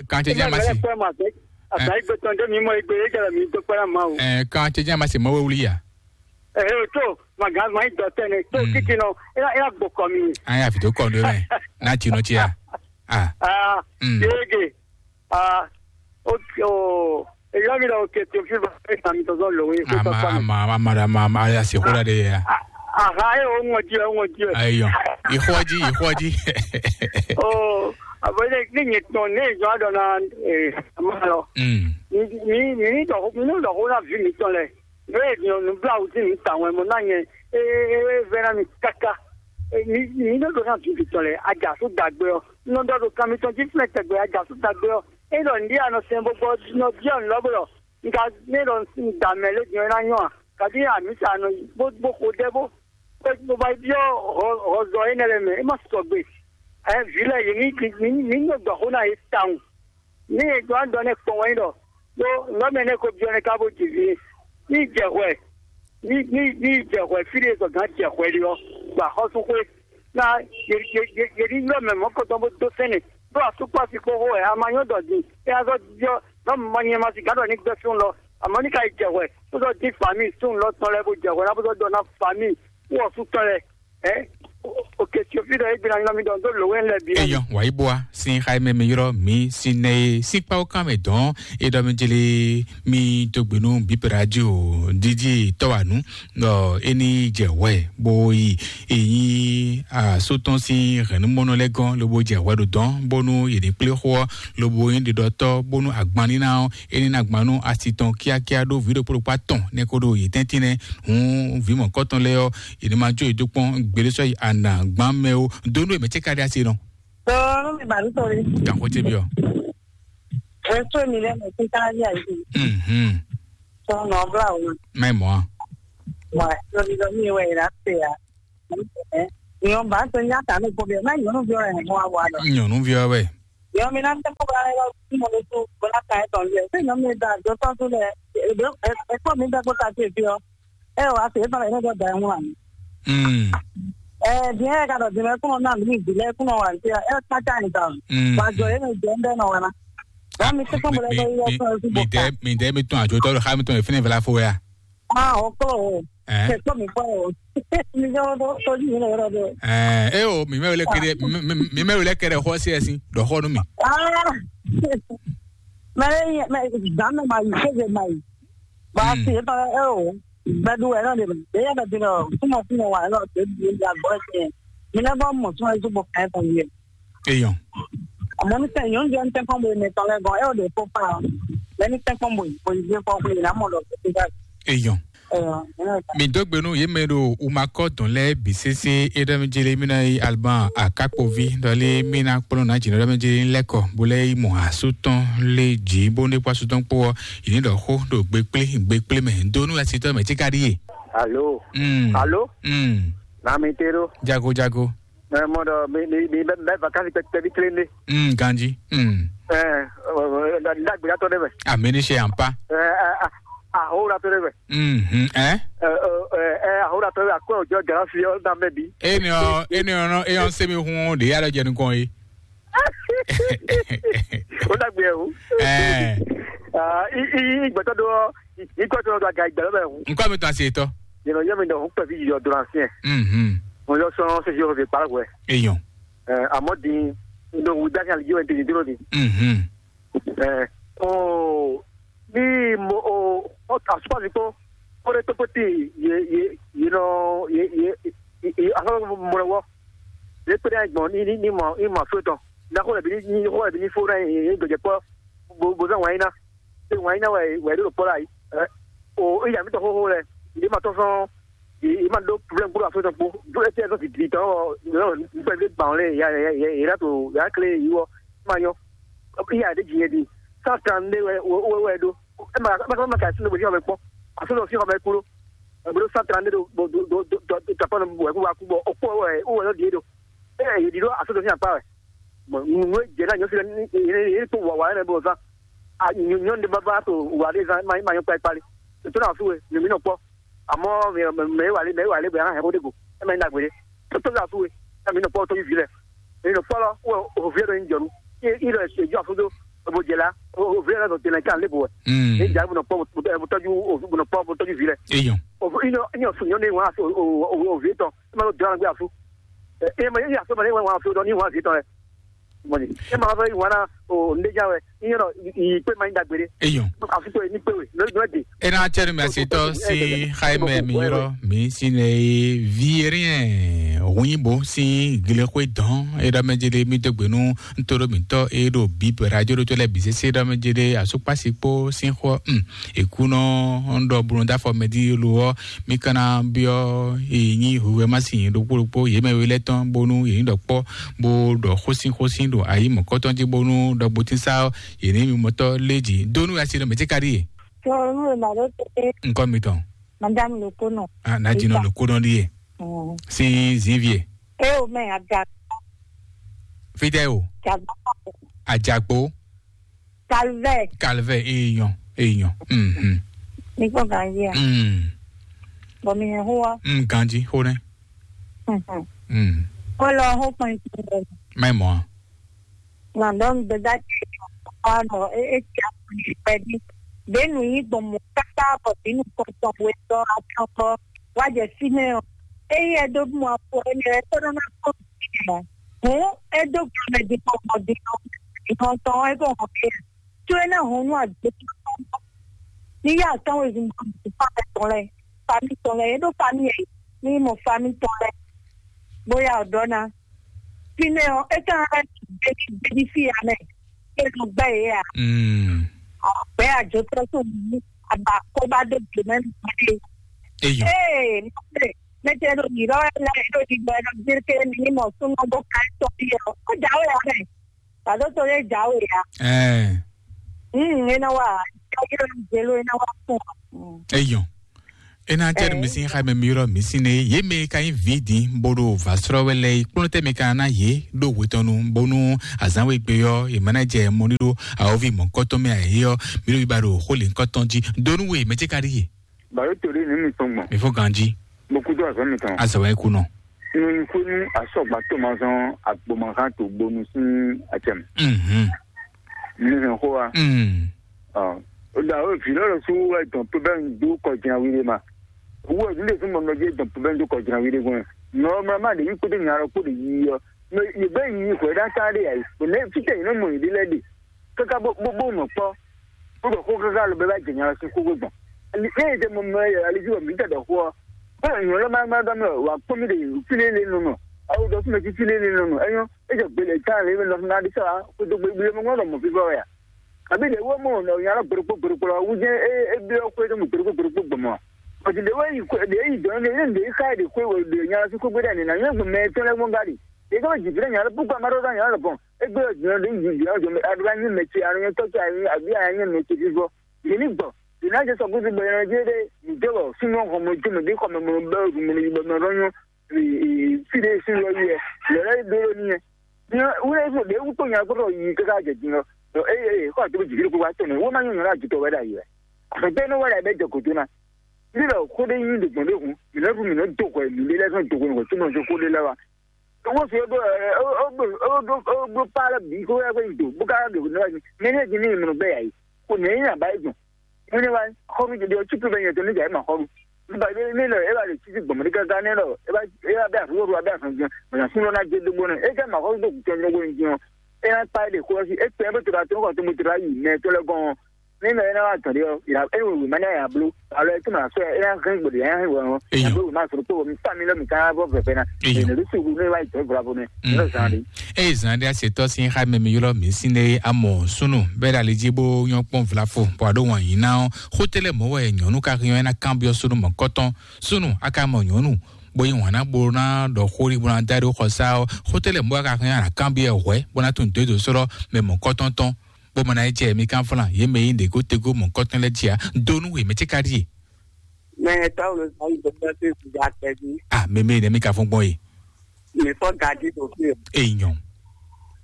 kàn ṣe jẹ́ màsí. Àgbà ìgbé tán dé mi mọ ìgbé yé jẹ́ mi dúpẹ́ lá máa o. Ẹ kàn ṣe jẹ́ màsí mọ́ wíwúlí yá. Ẹ ẹ tó màgá máa ń dọ̀tẹ́ ni tó títí náà ẹ ẹ gbọ́ kọ́ mi. Ayé àfi tó kọ́ ọdún rẹ̀ náà tinú tí a. Ah. Ah, Mm. Yége. Ah, ok, oh. Èyí mi lọ òkè tó fi bá ẹ sàmì tọ́sọ́ lòwe kó tọ́ Ama pa mi. ama ama ama ama ama ya se kula de ya. Aha, ẹ ò ń wọ́n jí ẹ ò ń wọ́n jí ẹ. Ayo. Ihoji ihoji. Oh, àbọ̀ ilé ní yẹn tán ní ìjọ àdọ̀ náà ẹ̀ máa lọ. Mm. Ní ní ní dọ̀kú ní dọ̀kú náà fi mi tán lẹ̀. Ní èdè ọ̀nù bí àwùjọ mi tà wọn ẹ̀ mọ̀ náà yẹn. Ee, ee, ee, vẹ́ràn mi káká. Ee, ní ní dọ̀dọ̀ náà fi mi tán lẹ̀. Ajá tó dàgbé ọ. Ní dọ̀dọ̀ kan mi tán jí fúnlẹ̀ tẹ̀gbẹ́ ajá tó dàgbé ọ. Ena ndi anɔ sɛn bɔ gbɔ nɔ biɔ nlɔ bɔ nka ne ɖɔ da mɛ le jɔ na nyɔ a kadi amisa nɔ bo bo ko de bo bo ba biɔ hɔzɔ ene le mɛ e ma sɔgbe ɛ vi lɛ yi ni ni ni nɔ dɔ ho na ye taun ni e dɔ an dɔ ne kpɔn wɛ dɔ bo nɔ mɛ ne ko biɔ ne ka bo ji vi ni jɛ hwɛ ni ni ni jɛ hwɛ fi de zɔ gan jɛ hwɛ de ɔ gba xɔsu xwe na yeri yɔ mɛ mɔ kɔtɔn bó dó sɛnɛ ɖó asúkpɔ asi kpó xó wɛ a ma nyɔ dɔ din é a zɔ diɔ nɔ mɔ nyɛ ma si gǎn dɔ ní gbɛ fún lɔ àmọ́ ní ka yi jɛ hwɛ bó zɔ dín fami sún lɔ tɔn lɛ bó jɛ hwɛ ná bó zɔ dɔ ná fami wɔ sú tɔn lɛ ɛ òkè tí o fi dɔ é gbéra nyɔ mi dɔ dó lòwe lɛ bi. Eyɔ wàyí bua sin xayi mɛ mi yrɔ mi sin nɛ ye sin kpawo kan mɛ dɔn e dɔ mi jeli mi dogbe nu bipe radio didi tɔwanu. Ɔ eni jɛ wɛ bo yi eyin asotɔn sin hɛnumɔnɔ lɛ gɔn lobo jɛ wɛ ɖo dɔn bonu yedi kple xɔ lobo yin ɖiɖɔtɔ bonu agbanina ɔ eni na gbanu asi tɔn kíákíá ɖo vi ɖokpo ɖokpo atɔn ne ko ɖo yi tɛntin nɛ hun vi mɔkɔtɔn lɛ ɔ yedi ma jo yi do kpɔn gbede sɔ yi ana gban mɛ o donu emɛ tse ka ɖe asi nɔ. Dɔɔ mi ba lutɔ le. Kan ko tse bi ɔ. Ɛsɛ mi lɛ mɛ tita yà yi. Mhm. Tɔn nɔ bla o. Mɛ mɔ. Wa lɔri lɔ mi wɛ yi la se ya. Nyɔn ba tɔ nya ta ne gbɔ bɛ na nyɔnu bi ɔ yɛ mɔ awa lɔ. Nyɔnu bi ɔ wɛ. Yɔ mi na tɛ ko ba yɔ mo le tu ko na ka e tɔn le. Se nyɔ mi da do tɔn tu le. E do e ko mi da ko ta te fi o. E wa se ba e do da mu an. Mm. Eh, bien ka do de ko na mi bi le ko na wa ti. E ta ta ni ta. Mm. Ba jo e me je nde no wa na. Wa mi se ko mo le ko yɔ ko su bo ka. Mi de mi de mi tun ajo to ha mi tun e fini vla fo ya. Ah, oko. Eh. Se ko mi ko. Mi jo do to ni le ro do. Eh, e o mi me le kede mi me le kede ho se sin do ho nu mi. Ah. Mɛ mɛ dan mɛ ma yi sɛgɛ ma yi. Ba si e tɔ e o. Bɛ du wɛ nɔ de mɛ. E yɛ bɛ di nɔ kuma kuma wa nɔ de di ya gbɔ tiɲɛ. Mi ne bɔ mɔ tún ɛzu bɔ kɛ tɔ yɛ. Eyɔn. Àmọ́ ní sẹ́yìn oúnjẹ ń tẹ́kọ̀ bóyá ní tọ́lẹ̀ gan ẹ ò lè kó pa ọ́. Lẹ́ni tẹ́kọ̀ bóyá bóyá ìdí kọ́ pé ìlà mọ̀ lọ sí sígá. Eyɔn. Ẹ̀yọ̀. Mi dó gbe nú yě mɛ ɖo umakɔ dɔn lɛ bi sese e ɖɔ mi jeli mi na yi alban akakpovi dɔli mi na kplɔn na jina ɖɔ mi jeli lɛkɔ bo lɛ yi mɔ asu tɔn le ji bo ne kpɔ asu tɔn kpɔ yi ni ɖɔ xo ɖo gbe kple gbe kple mɛ do nú asi tɔ mɛ ti ka ɖi ye. Alo. Mm. Alo. Mm. Na mi te ɖo. Jago jago. Ɛ mɔ ɖɔ mi mi mi bɛ bɛ vakansi kpɛkpɛ bi kelen de. Mm, ganji. Mm. Ɛ ɛ ɛ ɖagbe atɔ ɖe mɛ. Amini se ampa. Ɛ ɛ ahoratɔ ɖe mɛ. Mhm. Ɛ. Ɛ ɛ ɛ ahoratɔ ɖe akɔ ojɔ garafi ɔ na mɛ bi. Eni ɔ eni ɔ nɔ eyɔn semi hun de ya lɔ jɛ nukɔn ye. O dagbe o. Ɛ. Ah, i i i gbɛtɔ do ɔ i i kɔ tɔ do aga igbɛ lɔ bɛ hu. Nkɔ mi tɔn se tɔ. Yɛn yɛ mi dɔ hu pɛ fi yɔ do na fiɛ. Mhm. Mo yɔ sɔn se fi o fi kpala wɛ. Eyɔn. Ɛ amɔ di n do wu dasi ali ji wɛ n te di duro di. Mhm. Ɛ o bí mo o o asopasi kpó kóɖé tó kpótì yé yé yé nɔ yé yé yé asopasi mo lɛ wɔ yé kpéɖé ayi gbɔn ní ní ní mɔ ní mɔ afó tɔn ní akó lɛ bí ní ní xó lɛ bí ní fó ná yé yé gbɛjɛ kpɔ bo bo zán wǎn yín ná ṣé wǎn yín ná wɛ wɛ ɖó kpɔ la yìí ɛ o ìyá mi tɔ xóxó lɛ ìdí ma tɔn sɔn yé ma ɖó problème kpódó afó tɔn kpó dó ɛtí ɛtɔ didi tɔn ɔ nípa ìdí gbà wọn lé yà yà yà yà tó yà kle yìí wɔ ma nyɔ ìyá ɖé jì yẹn di cent trente-deux wɛ wɛ wɛ ɖó. Ema ema ema ka sinu bo jɔ me kpɔ. Aso dɔ fi xɔ me kúrò. Ebo do cent trente-deux do do do do do do tapɔ nɔ wɛ kú wa kú bɔ okpɔ wɛ wɛ yɔ die do. Ɛ yɛ di do aso dɔ fi akpa wɛ. Bon, nu nu jɛ na nyɔ fi ni ni ni to wa wa ne bo zan. A nyɔ nyɔ de baba to wa de zan ma ma nyɔ kpa kpali. To na su we ni mi nɔ kpɔ. Amɔ mɛ mɛ wa le mɛ wa le bɛ an hɛ ko de go. E ma ni dagbe de. To to la su we. Na mi nɔ kpɔ to vi lɛ. Mi nɔ kpɔ lɔ wo o vi lɛ do ni jɔ nu. I i lɛ se jɔ afudo. Bo jɛ la o vi lɛ do tɛnɛ kan le bo. Mm. Ni ja bo nɔ kpɔ bo tɔju o bo nɔ kpɔ bo tɔju vi lɛ. Eyɔn. O i nɔ i nɔ su nyɔ ne wa o o o vi tɔ. E ma do dɔn gbe afu. E ma i afu ma ne wa afu dɔ ni wa vi tɔ lɛ. Mɔni e ma fɛ wana o ndeja wɛ i yɔrɔ i kpe ma yin dagbe de. Eyɔn. Afi to ni kpe we no no de. E na cɛ nu mi asi tɔ si xayi mɛ mi yɔrɔ mi si ne ye vierien hunyinbo si glexwe dɔn e ɖɔ mɛ jede mi dogbe nu ntoro mi tɔ e ɖo bi radio ɖo to lɛ bi sese ɖɔ mɛ jede asukpasi kpo si xɔ um ekunɔ ŋɖɔ bunu dafɔ mɛ di lo ɔ mi kana biɔ e nyi huwe ma si ɖokpo ɖokpo ye mɛ we lɛ tɔn bonu ye nyi ɖɔ kpɔ bo ɖɔ xósin xósin ɖo ayi mɔ̌kɔtɔn jí bónú ɖɔgbotínsá ɔ́, yě ní mimɔtɔ́ lé jǐ dó nú asi ɖɔ mɛ̌ cí ka ɖíe? Sɔnu e ma ɖo te. Ŋkɔ mitɔn. Madame Lokono. Ah, na dzi nɔ Lokono ɖíe. Mm. Sin zinvie. E o mɛ aga. Fitɛ o. Jago. Ajagbo. Calvert. Calvert, eyɔn, eyɔn. Mhm. Mi kpɔ ganji a? Mm. Bɔ mi hɛn xó wa. Mm, ganji xó nɛ. Mhm. Mm. Xó lɔ xó kpɔn tsi. Mɛ mɔ. Nɔ dɔ ŋgbɛdá tsi kɔ nɔ e e tsi akɔnyi pɛdi. Ɖe nu yi gbɔn mɔ kaka bɔ ɖi nu kɔntɔn we tɔ atɔn kɔ wa jɛ fi nɛ ɔ. Eyi ɛ do mɔ afɔ ɛnɛ ɛ tɔ nɔ na kɔ fi nɛ ɔ. Hǔn é dó gbe mɛ din kpɔ́n din ɔ́, din ɔ́ tɔn ɔ́, é kó hɔn kéze. Có é ná hɔn nú agběsúnú ɔ́. Ní yá atɔ́nwézun bɔ nǔ fá mɛ tɔn lɛ́ɛ, famí tɔn lɛ́ɛ, é ɖó famí ɛ, ní mɔ famí tɔn lɛ́ɛ, bó yá ɔ̌ ɖɔ ná. Fínɛ́ ɔ́, é ka ná lɛ́ gbéjí gbéjí fí ya mɛ, é nɔ gbɛ́ yě ǎ. Mm. Gbɛ̌ àjotɔ́ tó mǐ, àbǎ kó bá dó gbě mɛ nǔgbé. Eyɔn. Ee, mɔ̌ mɛ tɛ ɖo yǐɖɔ wɛ lɛ́ɛ ɖo ɖiɖɔ ɛ nɔ gbé ké mi ní mɔ súnmọ́ bó ka tɔ́ fí ɔ́, ó jǎwe ǎ mɛ. Bado to ye jawe ya. Eh. Mm, ena wa. Ena wa fún. Eyɔn. Ena tɛnu mi sin xa mɛ mi ylɔ mi sin ne ye mɛ ka yin vi din boɖo vasrɔ wɛ lɛ kplɔn tɛ mi ka na ye ɖo wetɔnu bonu azan we gbe yɔ ye mana jɛ mɔni ɖo awovi mɔ kɔtɔn mɛ ayi yɔ mi ɖo yiba ɖo xo le kɔtɔn ji donu we mɛ ce ka ɖi ye. Baro to ɖe nu mi tɔn gbɔn. Mi fɔ ganji. Mo kudo azɔ mi tɔn. Azɔ wɛ kunɔ. Nunyi ko nu asɔgba to ma zɔn agbomazan to bonu sin atɛm. Mhm. Mi hɛn xo wa. Mm. Ɔ, o da o vi lɔ su wɛ dɔn pe bɛ n du kɔ jina wi de ma. Owó ɛ nílé fún mɔmɔ jẹ dɔn pe bɛ n du kɔ jina wi de gbɔn. Nɔ mɛ ma de yi kpótó nya lɔ kpó de yi yɔ. Mɛ yi bɛ yi hwɛ ɖa ta de ayi. O ne fitɛ yi ne mɔ yi de lɛ de. Kaka bó bó bó nɔ kpɔ. Kó dɔ xó kaka lɔ bɛ bá jɛ nya lɔ sí kókó gbɔn. Ne yi de mɔmɔ yɛ ali ju mi tɛ dɔ xó. Bó nyɔ lɔ ma ma dɔ mɛ wa kpɔ mi de file le nɔ nɔ. Awo dɔ fún mi file le nɔ nɔ. Ɛnyɔ e jɛ gbele ta le nɔ na de sa. Kó do gbele mɔ nɔ mɔ fi bɔ ya. Àbí ɖe wó mɔ nɔ nya lɔ gbeɖokpó gbeɖokpó lɔ wú jẹ́ é é byɔ́ xwé ɖé mɔ gbeɖokpó gbeɖokpó gbɔmɔ a? Bɔ̀dì ɖe wó yi xwé ɖe yi dɔn ɖe ɖe yi xa ɖe xwé wò ɖe nya lɔ sí xwé gbé ɖe nǐ ná nyɔ́ gbɔn mɛ tɔn lɛ́ɛ gbɔn gáɖi. Ɖe tó jì fínɛ nya lɔ púpọ̀ amadó dá nya lɔ pɔn. É gbé ɔ jìnnà ɖe yi jì ɔ jɔ mɛ aɖó bá nyí mɛ ce aɖó nyɛ tɔ́ ce ayi àbí ayi nyɛ mɛ ce fífọ́. Yě ní gbɔn. Yě ná jẹ sɔkúsú bɔ yẹn jẹ́ ɖe nìjẹ́ wɔ súnmọ́ xɔmɔ jó mɛ bí xɔmɔ mɔ bɛ mɔ yibɔ mɛ rɔ nyɔ. Fide sí lɔ yi ɛ lɛ lɛ do lɔ ni ɛ. Ni wúlò yi fún ɖe wúkpó nya kpɔtɔ yi kaka jɛ din lɔ. Eye eye kɔ àti jìbí kó wa tɔn nɛ wọ́n máa nyɔ̀nyọ̀ láti tọ̀ wẹ́dà yìí rẹ̀. Àfẹ́tẹ́ ní wẹ́dà bẹ́ẹ̀ jẹ kòtó ná. Nílò kódé yín lè gbọ̀n lé hun mìíràn fún mìíràn dòkò ẹ̀ mìíràn lẹ́sán dòkò nìkan tí mo ṣe kódé lẹ́wà. Owó fi ó gbó ẹ ó gbó ó gbó ó gbó pa lọ bí kó yẹ kó yìí dò bó ká dò ní wájú. Mẹ́rin ẹ̀ ti ní ìmúnú bẹ́ẹ̀ yà yìí. Kò ní ẹ̀yìn àbáyé gbọ̀n. Wọ́n ní wá xɔnu jẹjẹ ọtí pé bẹ́ẹ̀ yẹn tó níjà ẹ̀ máa xɔnu. Nígbà yẹn ní lọ ẹ bá lè títí gbọ̀mọdé gángan ní lọ ẹ bá ẹ bá bẹ àrùwọ̀rù abẹ́ àfọ̀njẹ mọ̀nà fún lọ́nà jẹ́ dógbó náà ẹ jẹ́ màá xɔnu tó kù tẹ́ dógbó ní jẹun. Ẹ yà pa ẹ lè kó ẹ sí ẹ pẹ́ ẹ bó tora tó ń kọ́ tó mo tora yìí mẹ́ tó lẹ́ gan-an. Ní lọ ẹ náà wà tọ̀dé ọ ìlà ẹ wò wò má ní àyà bló. Àlọ́ ẹ tó màá sọ ẹ yà hẹ́n gbòdì ẹ yà hẹ́n wọ̀ ọ́. Èèyàn. Àbúrò mi máa sọ̀rọ̀ pé wọ́n mi tà mí lọ́mì ká bọ́ fẹ̀fẹ́ náà. Èèyàn. Èèyàn ló sì wù ní wáyé tó ìfura fún mi. Ní ọ̀sán rí. Eye zan ɖe asetɔ sin xa mɛ mi ylɔ mi sin ɖe amɔ sunu bɛ ɖe ali dzi bo nyɔ kpɔn vlafo bɔ aɖo wɔn yi na ɔ xote lɛ mɔ wɛ nyɔnu ka hiɔ ena kan biɔ sunu mɔ kɔtɔn sunu aka mɔ nyɔnu bo yi wɔn na bo na ɖɔ xori bo na da ɖo xɔsa ɔ xote lɛ mɔ aka hiɔ ana kan biɔ hwɛ bo na tun do do sɔrɔ mɛ mɔ kɔtɔn tɔn bo mɔ na yi jɛ mi kan flan ye mɛ yi ɖe go tego mɔ kɔtɔn lɛ dzia donu we mɛ tse ka ɖi ye. Mɛ tɔwo lo zan yi gbɛgbɛ to eku ja kpɛvi. Ah, mɛ mɛ ne mi ka fɔn gbɔn ye. Mi fɔ gaji ɖo fi o. Enyɔ.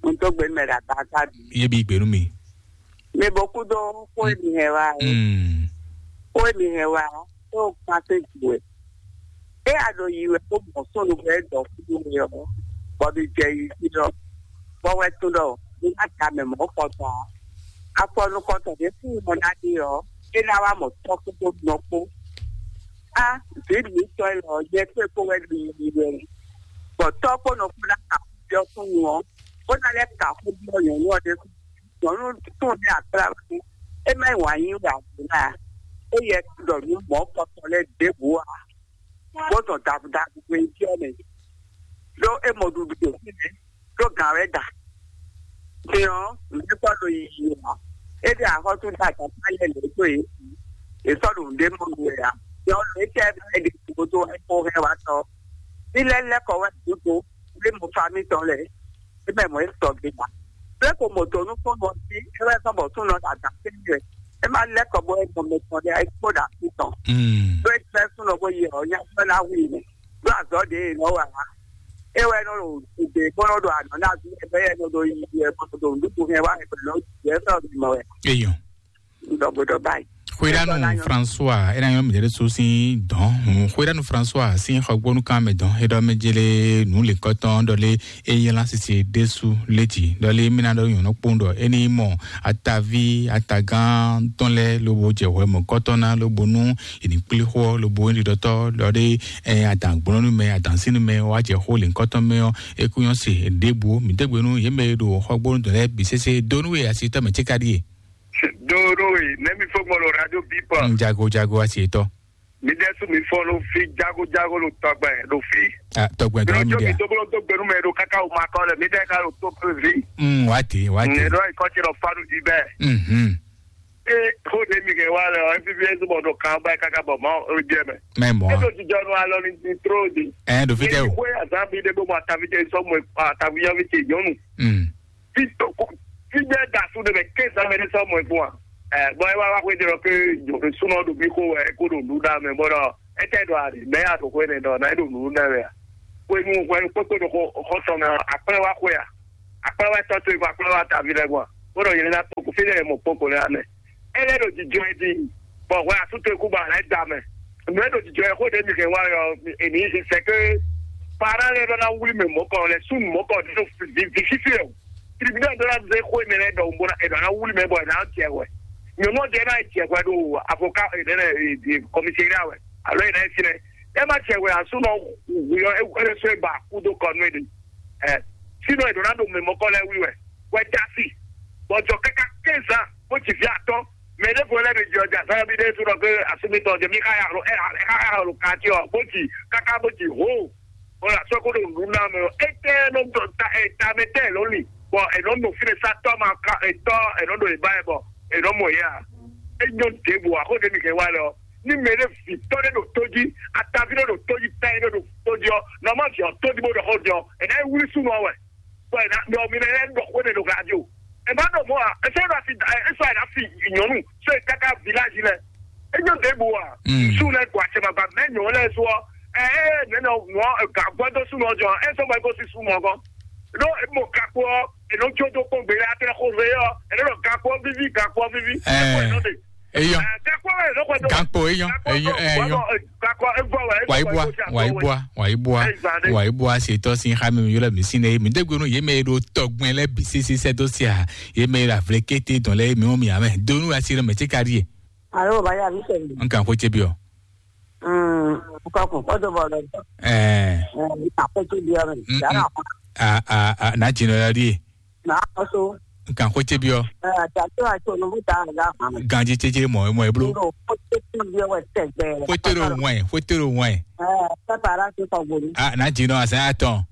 N tó gbé mɛ ɖa ta ta bi. Ye bi gbenu mi. Mi bɔ kú dó kó èmi hɛn wa. Mm. Kó èmi hɛn wa. Tó kpase ju ɛ. E a ɖo yi wɛ kó mɔ sónu bɛ dɔ kúdú mi ɔ. Bɔ mi jɛ yi fi dɔ. Bɔ wɛ tún dɔ. Mi ma ta mɛ mɔ kɔtɔn. Afɔnukɔtɔn ɖé fún mɔ ná ɖe ɔ. E ná wá mɔ tɔkú tó nɔ kpó. A vǐ mǐtɔn élɔ́ ɔ́, nyɛ kpé kpó wɛ ɖo yiyi wɛ. Bɔ tɔ́ kpó nɔ kpó ná ka xó byɔ́ súnnu ɔ́, bó ná lɛ́ ka xó byɔ́ nyɔ̌nu ɔ́ ɖésú. Nyɔ̌nu tún ní akpláwá ní, é má nyí wǎn yí wɛ ǎ ǎ. É yɛ ɖɔ nǔ mɔ̌ kɔtɔn lɛ́ɛ ɖěbǔ ǎ, bó zɔn davudavu hwe byɔ́ mɛ. Ɖó é mɔ ɖuɖu ɖo fínɛ́, ɖó gǎn wɛ da. Din ɔ́, nǔɖé sɔ́ ɖo yiyi ǎ. É ɖe axɔ́sú ɖe agbǎsá yɛ lě dó yě. È sɔ́ ɖo nǔɖé mɔ nú wɛ ǎ. Din ɔ́, lě tɛ́ mɛ é ɖe gǔdo é kó hɛn wá tɔ́. Ní lɛ́ lɛ́ kɔ wɛ gǔdo, lé mo fa mítɔn lɛ́ɛ. É mɛ mɔ̌ é sɔgbe ǎ. Lé ko mɔ dǒ nú fɔ́n ɔ́ jí, é wɛ sɔ́ bɔ súnɔ ɖo adǎn fínɛ́ wɛ. É má lɛ́ kɔ bó é mɔ mɛ tɔn lɛ́ɛ, é kpó ɖo así tɔn. Ɖó é jlɛ́ súnɔ bó yi ɔ́, nya sɔ́ ná hu i mɛ. Ɖó azɔ̌ ɖě e nɔ wa ǎ. É wɛ nɔ ɖo gbe bó nɔ ɖo anɔ̌ ná ví ɛ bɛ́ yɛ nɔ ɖo yi ɛ bó nɔ ɖo nǔɖuɖu hɛn wá ɛ bó nɔ yɛ sɔ́ mi mɔ wɛ. Eyɔn. Ɖɔ bó ɖɔ báyìí. Xwéɖánu François é ná nyɔ́ mǐɖé ɖésú sín dɔ̌n. Xwéɖánu François sín xɔgbónúkan mɛ dɔ̌n é ɖɔ mɛ jélé nǔ lěkɔtɔn ɖɔ lé é nyí lásìsì ɖésú létí ɖɔ lé mí ná ɖɔ nyɔ̌nu kpóun ɖɔ é ní mɔ ataví atagán tɔn lɛ́ɛ lobo jɛ hwɛ mɔ̌kɔtɔn ná lobo nú è ní kplé xó ɔ́ lobo é ɖiɖɔtɔ́ ɖɔ ɖé ɛ adǎngbɔ́nú mɛ adǎnsínu mɛ wá jɛ xó lěhunkɔtɔn mɛ ɔ́ é kú nyɔ́ se ɖěbǔ mǐ dé gbe nú yě mɛ e ɖo xɔgbónú dɔ̌n lɛ́ɛ bǐ sésé dó nú we asitɔ́ mɛ cíká ɖíe. Dó nú we nɛ́ mi fó gbɔn ɖo radio bípɔ. Jago jago asitɔ́. Mi ɖe su mi fɔ lo fi jago jago lo tɔgbɛ lo fi. Ah, tɔgbɛ dɔrɔn mi ɖe. Mi to bolo to gbenu mɛ ɖo kaka o ma kɔ le mi ɖe ka lo to pe vi. Mm, wati wati. Ne ɖo ikɔ ti lɔ fa ɖo di bɛ. Mhm. E ko de mi ke wa le o F B S bɔ ɖo kan ba kaka bɔ ma o jɛ mɛ. Mɛ mɔ. E do ti jɔ nu alɔ ni ni tro di. Ɛ do fi tɛ o. Ko ya zan bi de bo ma ta fi tɛ sɔ mo pa ta fi ya fi tɛ nyɔnu. Mm. Fi to ko fi de da su de bɛ ke sa mɛ de sɔ mo fun wa. Ɛ bɔn e wa wa ko de lɔ ke sunɔ do mi ko wɛ ko do nu da mɛ bɔ dɔ. Étɛ́ ɖɔ a ɖe mɛ ya ɖo xwé nɛ ɖɔ ná é ɖo nǔ ná wɛ a? Xwenu hwɛnu kpókpó ɖo xɔ xɔ tɔn mɛ ɔ́, akplɛ́ wá xwé a? Akplɛ́ wá tɔ́ towe kpó akplɛ́ wá taví lɛ́ɛ gbɔn a? Bó ɖɔ yě ná kpó kó fí lɛ́ɛ mɔ kpókpó lɛ́ɛ amɛ. É lɛ́ ɖo jijɔ ɛ din, bɔ hwɛ asú towe kú ba lɛ́ da mɛ. Nǔ e ɖo jijɔ ɛ xó ɖě mi hɛn wá ɔ́, èmi sɛ ké pará lɛ́ɛ ɖɔ ná wlí mɛ mɔ̌kɔ lɛ́ɛ súnnu mɔ̌kɔ ɖě ɖo vi fífí ɛ o. Tribunal ɖó ná zé xó énɛ́ lɛ́ɛ ɖɔhun bó ná è nɔ ná wlí mɛ bɔ è nǎ jɛ hwɛ. Nyɔ̌nu ɔ́ jɛ ná jɛ hwɛ ɖo avocat énɛ́ lɛ́ɛ kɔmisiɛ́ria wɛ alo è nǎ nyí fínɛ́. É má jɛ hwɛ ǎ súnɔ hwi ɔ́ é é sɔ́ é ba kú dó kɔ nú é ɖe. Ɛ sínɔ è nɔ ná ɖo mɛ mɔkɔ lɛ́ɛ wlí wɛ. Wɛ dá sí. Bɔ jɔ káká quinze ans bó ci fí atɔ́. Mɛ ɖěvo lɛ́ɛ mi jɛ ɔjà sáyà bí ɖé súnɔ pé asúmítɔ jɛ mí ká yà ro ɛ ká yà ro kati ɔ bó ci káká bó ci hó. Bɔlá sɔ́ kó ɖo nǔɖuɖu ná mɛ ɔ́, étɛ́ nɔ dɔ ta ɛ tamɛ tɛ ló li, bɔ è nɔ nɔ fínɛ sá tɔ́ ma ka etɔ́ è nɔ ɖo ìbá ɛ bɔ è nɔ mɔ yɛ a? É nyɔ́ ɖěbǔ ǎ, xó ɖě mi hɛn wá lɛ ɔ́, ní mɛ ɖé vǐ tɔ́ ɖé ɖo tó jí, ataví ɖé ɖo tó jí, tán ɖé ɖo tó jí ɔ́, nɔ má vǐ ɔ́ tó jí bó ɖɔ xó jɔ, è nǎ yi wlí súnnu ɔ́ wɛ, bɔ è nǎ ɖɔ mi nɛ lɛ́ɛ ɖɔ xó ɖé ɖo glá jí o. È má ɖɔ mɔ̌ ǎ, é sɔ́ ɖo asi é sɔ́ è nǎ fi nyɔ̌nu, sɔ́ è káká viláji lɛ. É nyɔ́ ɖěbǔ ǎ. Mm. Sú lɛ́ɛ gbɔ acɛ mɛ ba mɛ nyɔ̌ lɛ́ɛ sú ɔ́, ɛ ɛ nɛnɛ nɔ gǎgbɔ́ dó súnnu ɔ́ jɔ, é sɔ́ bɔ é gosín súnnu ɔ́ gɔ́n. Ɖó mɔ gakpo ɔ́, è nɔ jó dó kpɔ́n gbé lɛ́ɛ atɛ́ xó lé ɔ́, è nɔ ɖɔ gakpo ɔ́ víví, gakpo ɔ́ víví. Ɛ. Gakpo ɔ́ è nɔ xwɛ dó. Gakpo ɔ́ è nɔ xwɛ dó. Gakpo é nyɔ́, é nyɔ́, é nyɔ́. Gakpo é vɔ wɛ. Wàyíbúà, wàyíbúà, wàyíbúà, wàyíbúà ṣètò sí xá mi yọlẹ mi sí ne mi dégbénu yé mɛ ɖo tɔgbɛn lɛ bi sisi sɛ dó sí a yé mɛ ɖo avlɛ kété dɔn lɛ mi ɔn mi amɛ donu asi lɛ mɛ tí ka ɖi yɛ. Alo baya mi sɛ. Nkan ko tse bi ɔ. Mm, kɔkun kɔdo bɔ lɛ. Ɛɛ. Ɛɛ, akpɛtɛ bi ɔ mi. Mm, dara. Mm. A a a na dzi nɔ ya ɖi. Na kɔso. Nkan ko tse bi ɔ. Ɛɛ, ati ato ato nubu ta la. Ganji tsetse mɔ mɔ eblo. Ko tse tse bi ɔ wɛ tɛgbɛ. Ko tse do wɛn, ko tse do wɛn. Ɛɛ, pɛpɛ ara ti kɔ gbolu. A na dzi nɔ asa atɔ.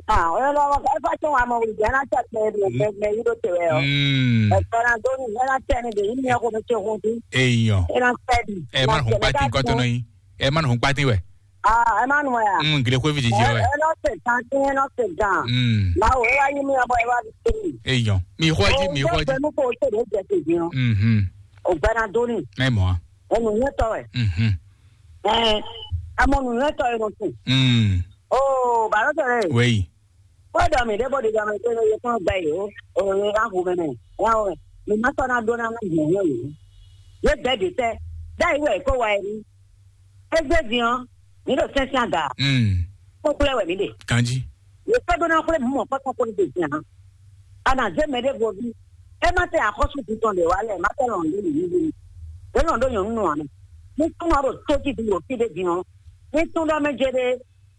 Ah, ɔyɔ lɔ ɛfɛ tso wa mɔ wuli jɛ na tɛ kpɛ bi kpɛ kpɛ yi do te wɛ ɔ. Mm. Ɛfɛ na do ni ɛna tɛ ni de yi mi ko mi tse hun ti. Eyɔ. Ɛna tɛ di. Ɛ ma hun kpati kɔtɔ nɔ yi. Ɛ ma hun kpati wɛ. Ah, ɛ ma nu ya. Mm, gile ko vi jiji wɛ. Ɛna tɛ kan ti ɛna tɛ gan. Mm. Ma wo ya yi mi ya bɔ ɛ wa di te. Eyɔ. Mi xɔ ji, mi xɔ ji. Bɛ mu ko te de jɛ te di ɔ. Mhm. O gbɛ na do ni. Ɛ mɔ. Ɛ nu nyɛ tɔ wɛ. Mhm. Ɛ, amɔ nu nyɛ tɔ ɛ nɔ tu. Mm. Oo, bàlọ́ tẹ̀lé. Wẹ́yì. Kódà mi ɖé bó ɖi dɔmɛ tó lóye kún gbɛ yìí ó, òye ká hu mɛ mɛ, ká hu mɛ. Mi má sɔ́ ná ɖó ná má gbɔn yẹn yìí. Yé bɛ́ ɖi tɛ, dá yìí wɛ kó wa yìí. Égbé din ɔ́, mi ɖo sɛ́nsɛ́n aga. Mm. Kó kplé wɛ mi ɖe. Kanji. Yé kó ɖó ná kplé mú mɔ kɔ́tɔ́ kó ní ɖe din ǎ. A nà zé mɛ ɖé vo bí. É má tɛ axɔ́sú din tɔn ɖe wá lɛ, má tɛ lɔn ɖó yìí yìí. É lɔn ɖó nyɔ̌nu nɔ àná. Ní kún ɔ́ ɖo tó jí din ɖo fí ɖé din ɔ́. Ní tún ɖɔ mɛ jɛ ɖé.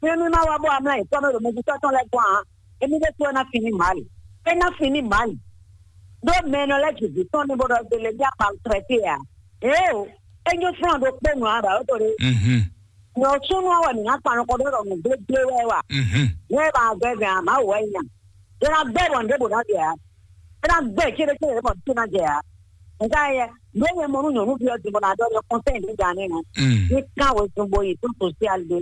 Mímí má wá bó amlá nyǐkɔ mɛ ɖo mɛjitɔ́ tɔn lɛ́ɛ gɔ́n ǎ. Émí ɖésú wɛ ná fin ní Mali. É ná fin ní Mali. Ɖó mɛ e nɔ lɛ́ ji vǐ tɔn ní bó ɖɔ gbélé ní akpa trɛtí ǎ. Éeǒ, é nyí flɔ́n ɖokpó nǔ ǎ ɖɔ tó ɖé. Mhm. Nyɔ súnú ɔ́ wɛ mǐ ná kpan nukɔn ɖó ɖɔ nǔgblégbé wɛ wa. Mhm. Ní ɛ ba gbɛ gǎn ǎ, Mawu wɛ é nya. É ná gbɛ bɔ nǔɖé bǒ ná jɛ ǎ. É ná gbɛ céɖécéɖé bɔ nǔ ná jɛ ǎ. Nka yɛ, nǔ e nyɛ mɔ nú nyɔ̌nuví ɔ́ din bɔ ná ɖɔ nyɛ kɔnsɛ́n ɖě gǎn nɛ́ ná. Mm. Ní kán wezun bo yi tó sosial ɖé.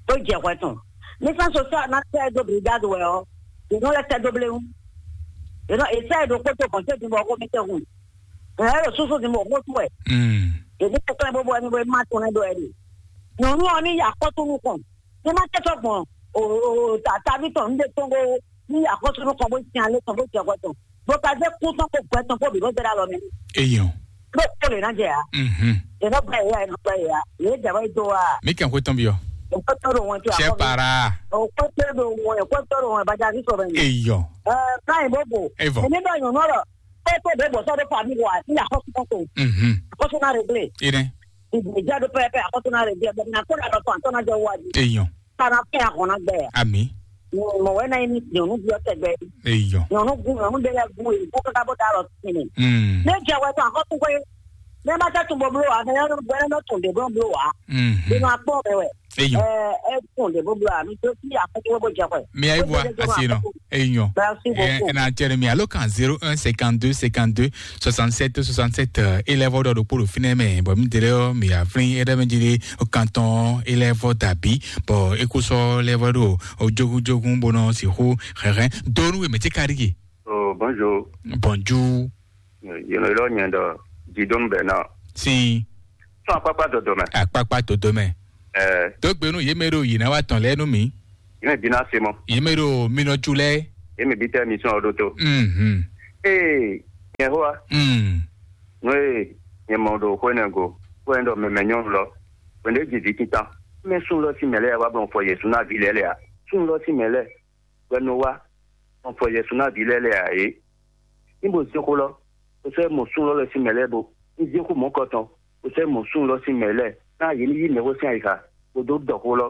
Bó jɛ hwɛ tɔn. Ní sán sosial ná tɛ dó brigade wɛ ɔ́, yě nɔ lɛ́ tɛ dó bléwún. Yě nɔ èsɛ ɖo kpótó kɔn tó din bɔ xó mi tɛ hun. Ɛ ɛ ɖo súsú din bɔ xó tú wɛ. Mm. Yě ní kɛklɛ́ bó bɔ ɛni bó má tún nɛ ɖó ɛni. Nyɔ̌nu ɔ́ ní yi akɔ́tún nukɔn. Ní má tɛ sɔ́ gbɔn o o o ta taví tɔn ní ɖe tɔn bó ní yi akɔ́tún nukɔn bó sin alé tɔn bó jɛ hwɛ tɔn. Bó ka zé kú tɔn kó gbɛ tɔn kó bǐ bó zé ɖó alɔ mɛ. Eyɔn. Bó kó lè ná jɛ ya. Mhm. Yě nɔ gbɛ yě ya, yě nɔ gbɛ yě ya. Yě jɛ wɛ do wa. Mi kàn kó tɔn bi ɔ. O kó tɔn do wọn ti Sɛ akɔ mi. Para. O kó tɔn do wọn, o kó tɔn do wọn, bàjá ní sọ̀rọ̀ yìí. Eyɔn. Ɛ, báyìí bó bò. Evɔ. Èmi bá yàn nɔ lọ. Kó tó bó bò sɔdɔ fami wa, ní akɔsu kɔkɔ. Mhm. Akɔsu na réglé. Ine. Ìgbìjà do pẹpẹ akɔsu na réglé. Bẹ̀rẹ̀ na kó na lọ tó àtọ́ na jẹ wájú. Eyɔn. Kana fẹ́ àkànná gbẹ. Ami. Mɔ̀wé náà ní nyɔ̀nú bí ọ̀tẹ̀ gbẹ. Eyɔn. Nyɔ̀nú gun, nyɔ̀nú bẹ́lẹ̀ gun èyí kó kọ́kọ́ bó dá lọ sí ni. Mm. Ní ìjà wẹ̀ tó àkọ́kọ́ pé ní ẹ bá tẹ́ tún bọ̀ búlò wá, ní ẹ bá tún dé bọ̀ búlò wá. Mhm. Inú apọ́ rẹ wẹ̀. Eyɔn. Ẹ ẹ tún dé bọ̀ búlò wá, mi tó sí àkọ́kọ́ bó jẹ pẹ̀. Mi ayi bua asi nɔ. Eyɔn. Merci beaucoup. Ɛ na tɛnɛ mi alo kan zéro un cinquante-deux cinquante-deux soixante-sept soixante-sept. Élève dɔ ɖokpó ɖo fínɛ mɛ bɔ mi délé ɔ mi aflin éɖe mɛ dzi ɖe kantɔn élève dàbí bɔ ékúsɔ élève ɖo ojogunjogun bó nɔ sixú xɛxɛ donu wɛ mɛ tí ka ɖi. Oh, bonjour. Bonjour. Yélo yélo nyɛ dɔ Didon Bernard. Si. Sɔ́ akpákpá dɔdɔ mɛ. Akpákpá dodó mɛ. Ɛɛ, Dó gbe nú yě mɛ ɖo yě ná wá tɔn lɛ́ɛ nú mǐ. Yě mɛ bí ná se mɔ. Yě mɛ ɖo minɔjú lɛ́ɛ. Yě mɛ bí tɛ mi sɔn ɔdó tó. Mhm. Ee, nyɛ xó wa. Mm. Nú e nyɛ mɔ ɖo xwé nɛ go, xwé nɛ ɖɔ mɛmɛ nyɔnu lɔ, hwɛndo e ji vǐ tintan. Mɛ sún lɔ sín mɛ lɛ́ɛ wá blɔn fɔ Yɛsu ná vǐ lɛ́ɛ lɛ a? Sún lɔ sín mɛ lɛ́ɛ wɛ nɔ wá blɔn fɔ Yɛsu ná vǐ lɛ́ɛ lɛ ǎ é. Ní bo zé xó lɔ, bo sɔ́ mɔ sún lɔ lɛ́ɛ sín mɛ lɛ́ɛ bo. Ní zé xó mɔ̌kɔtɔn, bo sɔ́ mɔ sún lɔ sín mɛ lɛ́ɛ, ná yě ní yí mɛxó sín ayixa, bó dó ɖɔ xó lɔ.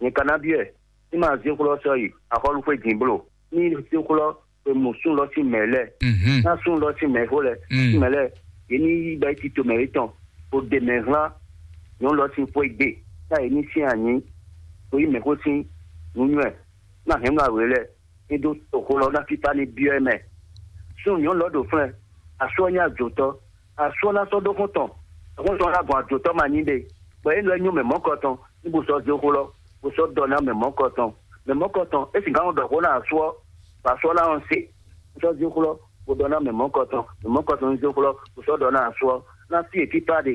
Nyɛ ka ná byɔ́ ɛ, ní ma zé xó lɔ sɔ́ yi axɔ́lúxwé din bló, ní zé xó lɔ e mɔ sún lɔ sín mɛ lɛ́ɛ, Mhm. ná sún lɔ sín mɛxó lɛ́ɛ, Mm. sín mɛ lɛ́ɛ, yě ní yí gbɛ́ tito mɛ yětɔn, bó ɖe mɛ hlán nyɔ̌nu lɔ sín xwé gbe, ná yě ní syɛ́n anyǐ, bó yí mɛxó sín nǔnywɛ́, ná hɛn nú awě lɛ́ɛ, ní dó toxo lɔ ná fífá ní byɔ́ ɛ mɛ. Súnnu nyɔ̌nu lɔ ɖo flɛ́n, asú ɔ́ nyí ajotɔ́, asú ɔ́ ná sɔ́ ɖó xɔ́ntɔn, xɔ́ntɔn ɔ́ ná gbɔn ajotɔ́ ma nyí ɖe, bɔ é nɔ é nyú mɛ mɔ̌kɔtɔn, ní bó sɔ́ zé xó lɔ, bó sɔ́ ɖɔ ná mɛ mɔ̌kɔtɔn. Mɛ mɔ̌kɔtɔn, é sixá nɔ ɖɔ xó ná asú ɔ́, bɔ asú ɔ́ ná nɔ se, bó sɔ́ zé xó lɔ, bó ɖɔ ná mɛ mɔ̌kɔtɔn, mɛ mɔ̌kɔtɔn ní zé xó lɔ, bó sɔ́ ɖɔ ná asú ɔ́, ná sí e fífá ɖe,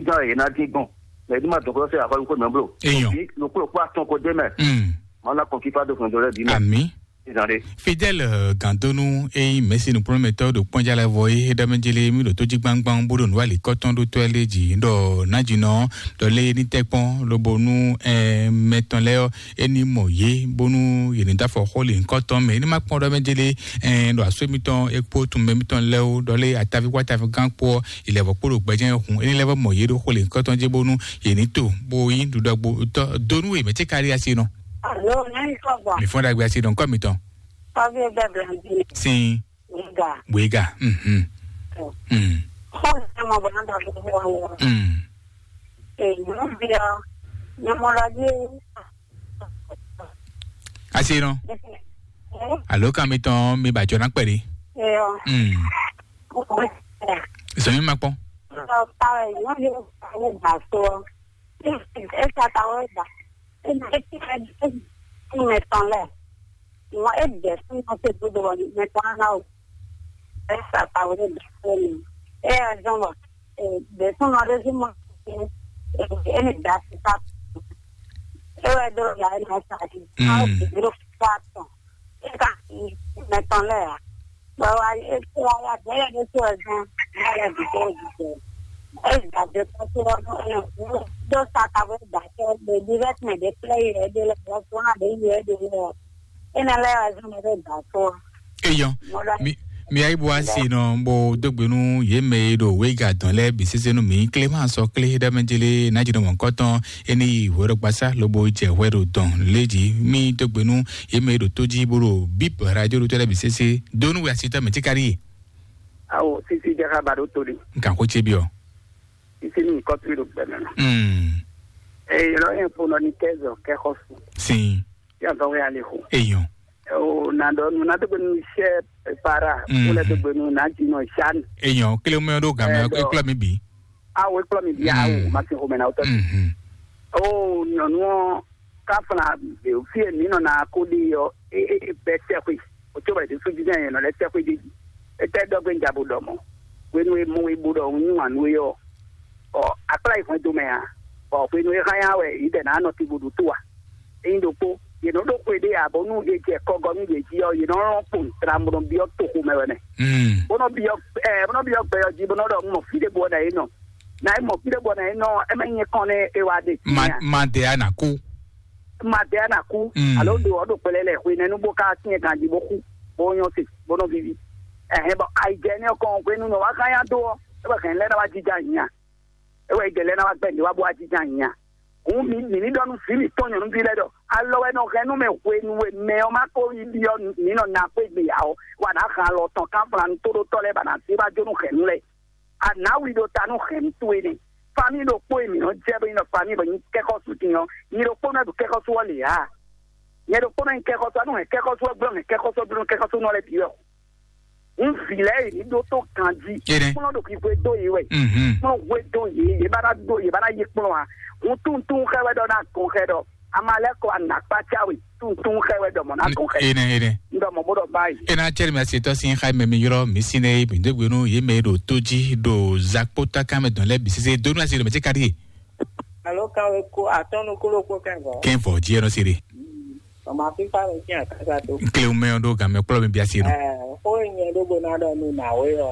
gán e yě ná dín gbɔn, mɛ ní ma dɔn xó lɔ sɛ́ axɔ́ xó mɛ bló. Eyɔn. Òbí, nukplɔ́kpó atɔn ko ɖ'é mɛ. Mm. Mawu ná kɔn fífá dó hwɛndo lɛ́ɛ bǐ mɛ. Àmín. Ìzàn ɖe. Fidèle, eh, Gandonu, e nyí Mɛ̌si nukplɔ́nmɛtɔ́ ɖo kpɔ́njá lɛ́ɛ vɔ é, é ɖɔ mɛ jélé mì ɖo tójígbángbán bó ɖo nǔ alikɔ́tɔn ɖó tɔ́ lé jǐ ɖɔ nǎjínɔ ɖɔ lé ní tɛ́ kpɔ́n lobo nú, eh, mɛ tɔn lɛ́ɛ ɔ́, é ní mɔ yě bónú yě ní dó afɔ xó lě nyǐkɔ tɔn mɛ. É ní má kpɔ́n ɖɔ mɛ jélé, eh, ɖo asú émítɔn é kpó tunmɛ émítɔn lɛ́ɛ ó, ɖɔ lé ataví kpó ataví gán kpó ɔ́, ilẹ̀vɔ kpó ɖo gbɛjɛ́ hun. É ní lɛ́ vɔ mɔ yě ɖo xó lě nyǐkɔ tɔn jí bónú yě ní to bó nyí ɖuɖɔgbó dó nú yě mɛ cé kárí así nɔ. Alo, nyɛmi kɔ gbɔ. Mi fɔ́n ɖagbe asi ɖo ŋkɔ mitɔn. Kɔvi bɛ blanji. Sin. Wiga. Wiga. Mhm. Mm. Xɔ ne mɔ bɔ na dɔ fún wọn. Mm. E nu bi ɔ, ne mɔ lɔ di. Asi nɔ. Alo kan mitɔn mi ba jɔ na kpɛɖi. E ɔ. Mm. Zɔn mi ma kpɔn. Ɔ, pa ɛ, nyɔnu yɛ ba so. Esa ta wɛ da. Esa ta wɛ da. Mɛ tɔn lɛ. Mɔ e dɛ fún mɔ se dodo wɔ mɛ tɔn na o. Esa ta wɛ da. E ya zɔn wɔ. Dɛ fún mɔ de fún mɔ. E ni da si ta. E wɛ do ya e na sa di. Awo dro fa tɔn. E ka mɛ tɔn lɛ ya. Bɔ wa e wa ya bɛlɛ de so zan. Ya ya di ko di. E da de ko so dɔ sa ta wɛ da ke de direct me de play e de le ko so na de ye de le. E na lɛ wa zan me de da so. Eyɔn. Mi mi ayi bo asi nɔ bo dogbe nu ye mɛ ye ɖo wega dɔn lɛ bi sese nu mi Clément sɔ kle ɖe mɛ jele na dzi nɔ mɔ kɔtɔn eni yi hwɛ ɖo gbasa lobo jɛ hwɛ ɖo dɔn le dzi mi dogbe nu ye mɛ ye ɖo to dzi bo ɖo bip radio ɖo tɔ lɛ bi sese do nu we asi tɔ mɛ ti kari ye. Awo sisi jaka ba ɖo to ɖi. Nkan ko tse bi ɔ. Sisi ni kɔtri ɖo gbɛmɛ nɔ. Mm. Ee yɔrɔ yẹn fo nɔ ni kɛzɔ kɛxɔsu. Sin. Yàtọ̀ wẹ́ alẹ́ kù. Eyɔn. O na dɔ nu na dogbe nu sɛ para. Mm. Wọ́n lɛ dogbe nu na dzi nɔ sani. Eyɔn kele mɛ ɖo gamɛ. Ɛ, dɔ. Ekplɔ mi bi. Awo ekplɔ mi bi awo. Mm. Ma se xomɛ na wotɔ. Mhm. O nyɔnu ɔ kafla fi mi nɔ na ko de yɔ e e e bɛ sɛxwe. O tso bɛ de sojijɛ yɛn nɔ lɛ sɛxwe de. Etɛ dɔgbe n jabo dɔ mɔ. Wenu e mɔ e bo dɔ n nyu anu e yɔ. Ɔ akpla yi hwɛndo mɛ a. Ɔ hwenu e hanya wɛ yi dɛ na nɔ ti bo ɖo to a. Eyin ɖokpó, yě nɔ ɖó xwe ɖé ǎ, bɔ nú è jɛ kɔgɔ nú yě jí ɔ́, yě nɔ lɔn kpo tran bó nɔ byɔ́ toxo mɛ wɛ mɛ. Mm. Bó nɔ byɔ́ ɛ bó nɔ byɔ́ gbɛ ɔ́ jí bó nɔ ɖɔ un mɔ fí ɖé bɔ nɛ é nɔ. Na é mɔ fí ɖé bɔ nɛ é nɔ, é mɛ nyɛ kɔn nɛ é wá ɖe. Ma ma de a na kú. Ma de a na kú. Mm. Alo ɖo ɔ́ ɖo kpɛlɛ lɛ xwe nɛnu bó ká syɛn ganjí bó xú, bó nyɔ́ se, bó nɔ vivi. Ɛhɛn bɔ ayijɛ nɛ kɔn hwenu nɔ wá xá yá dó ɔ́, é bɔ hɛn lɛ́ ná wá jija nya. É wɛ é jɛ lɛ́ ná wá gbɛ́ nǔ wá bó wá jínjɔ́n ayǐ a? Hǔn mǐ mǐ ní ɖɔ nú vǐ mǐtɔn nyɔ̌nuví lɛ́ɛ ɖɔ alɔ wɛ nɔ hɛn nú mɛ hwenu e mɛ ɔ́ ma ko yi byɔ́ mǐ nɔ ná xwé gbe ǎ ɔ́, wǎ ná hɛn alɔ tɔn kánflán tóɖótɔ́ lɛ́ɛ bɔ a nǎ zé wá jó nú hɛ̌nnu lɛ́ɛ. A nǎ wi ɖo ta nú hɛ̌nnu towe nɛ́. Famíi ɖokpó e mǐ nɔ jɛ bó nyí ɖɔ famíi bɔ nyí kɛ́xɔ́sú din ɔ́, nyi ɖokpónɔ e ɖo kɛ́xɔ́sú ɔ́ lě ǎ. Nyɛ ɖokpónɔ nyí kɛ́xɔ́sú, a nú hɛn kɛ́xɔ́sú ɔ́ gblɔ́ hɛn kɛ́xɔ́sú ɔ́ gblɔ́ nú kɛ́xɔ́súnɔ lɛ́ɛ bǐ wɛ. Un vǐ lɛ́ɛ yě ní ɖótó ganjí. Kplɔ́n ɖo xixwe dó yě wɛ. Kplɔ́n hwe dó yě, yě ba ná dó, yě ba ná yí kplɔ́n ǎ. Un tunwun tunwun xɛ wɛ ɖɔ ná gɔn xɛ ɖɔ Amaleko anakpatsawe tuntun xɛ wɛ dɔmɔ na ko xɛ. Ene, ene. Ndɔmɔ bo dɔ bayi. Ena cɛri mi asi tɔ sin xa mɛ mi yɔrɔ mi si ne mi degbe nu ye mɛ ɖo to ji ɖo zakpota kan mɛ dɔn lɛ bi sese donu asi ɖo mɛ ti kari. Alo kan we ko atɔnu kolo ko kɛnvɔ. Kɛnvɔ ji ɛnɔ siri. Mama fifa le tiɲɛ kasa to. Nkle mɛ ɖo gan mɛ kplɔ mi bi asi ɖo. Ɛɛ, ko nyɛ ɖo bo na dɔ nu na we ɔ.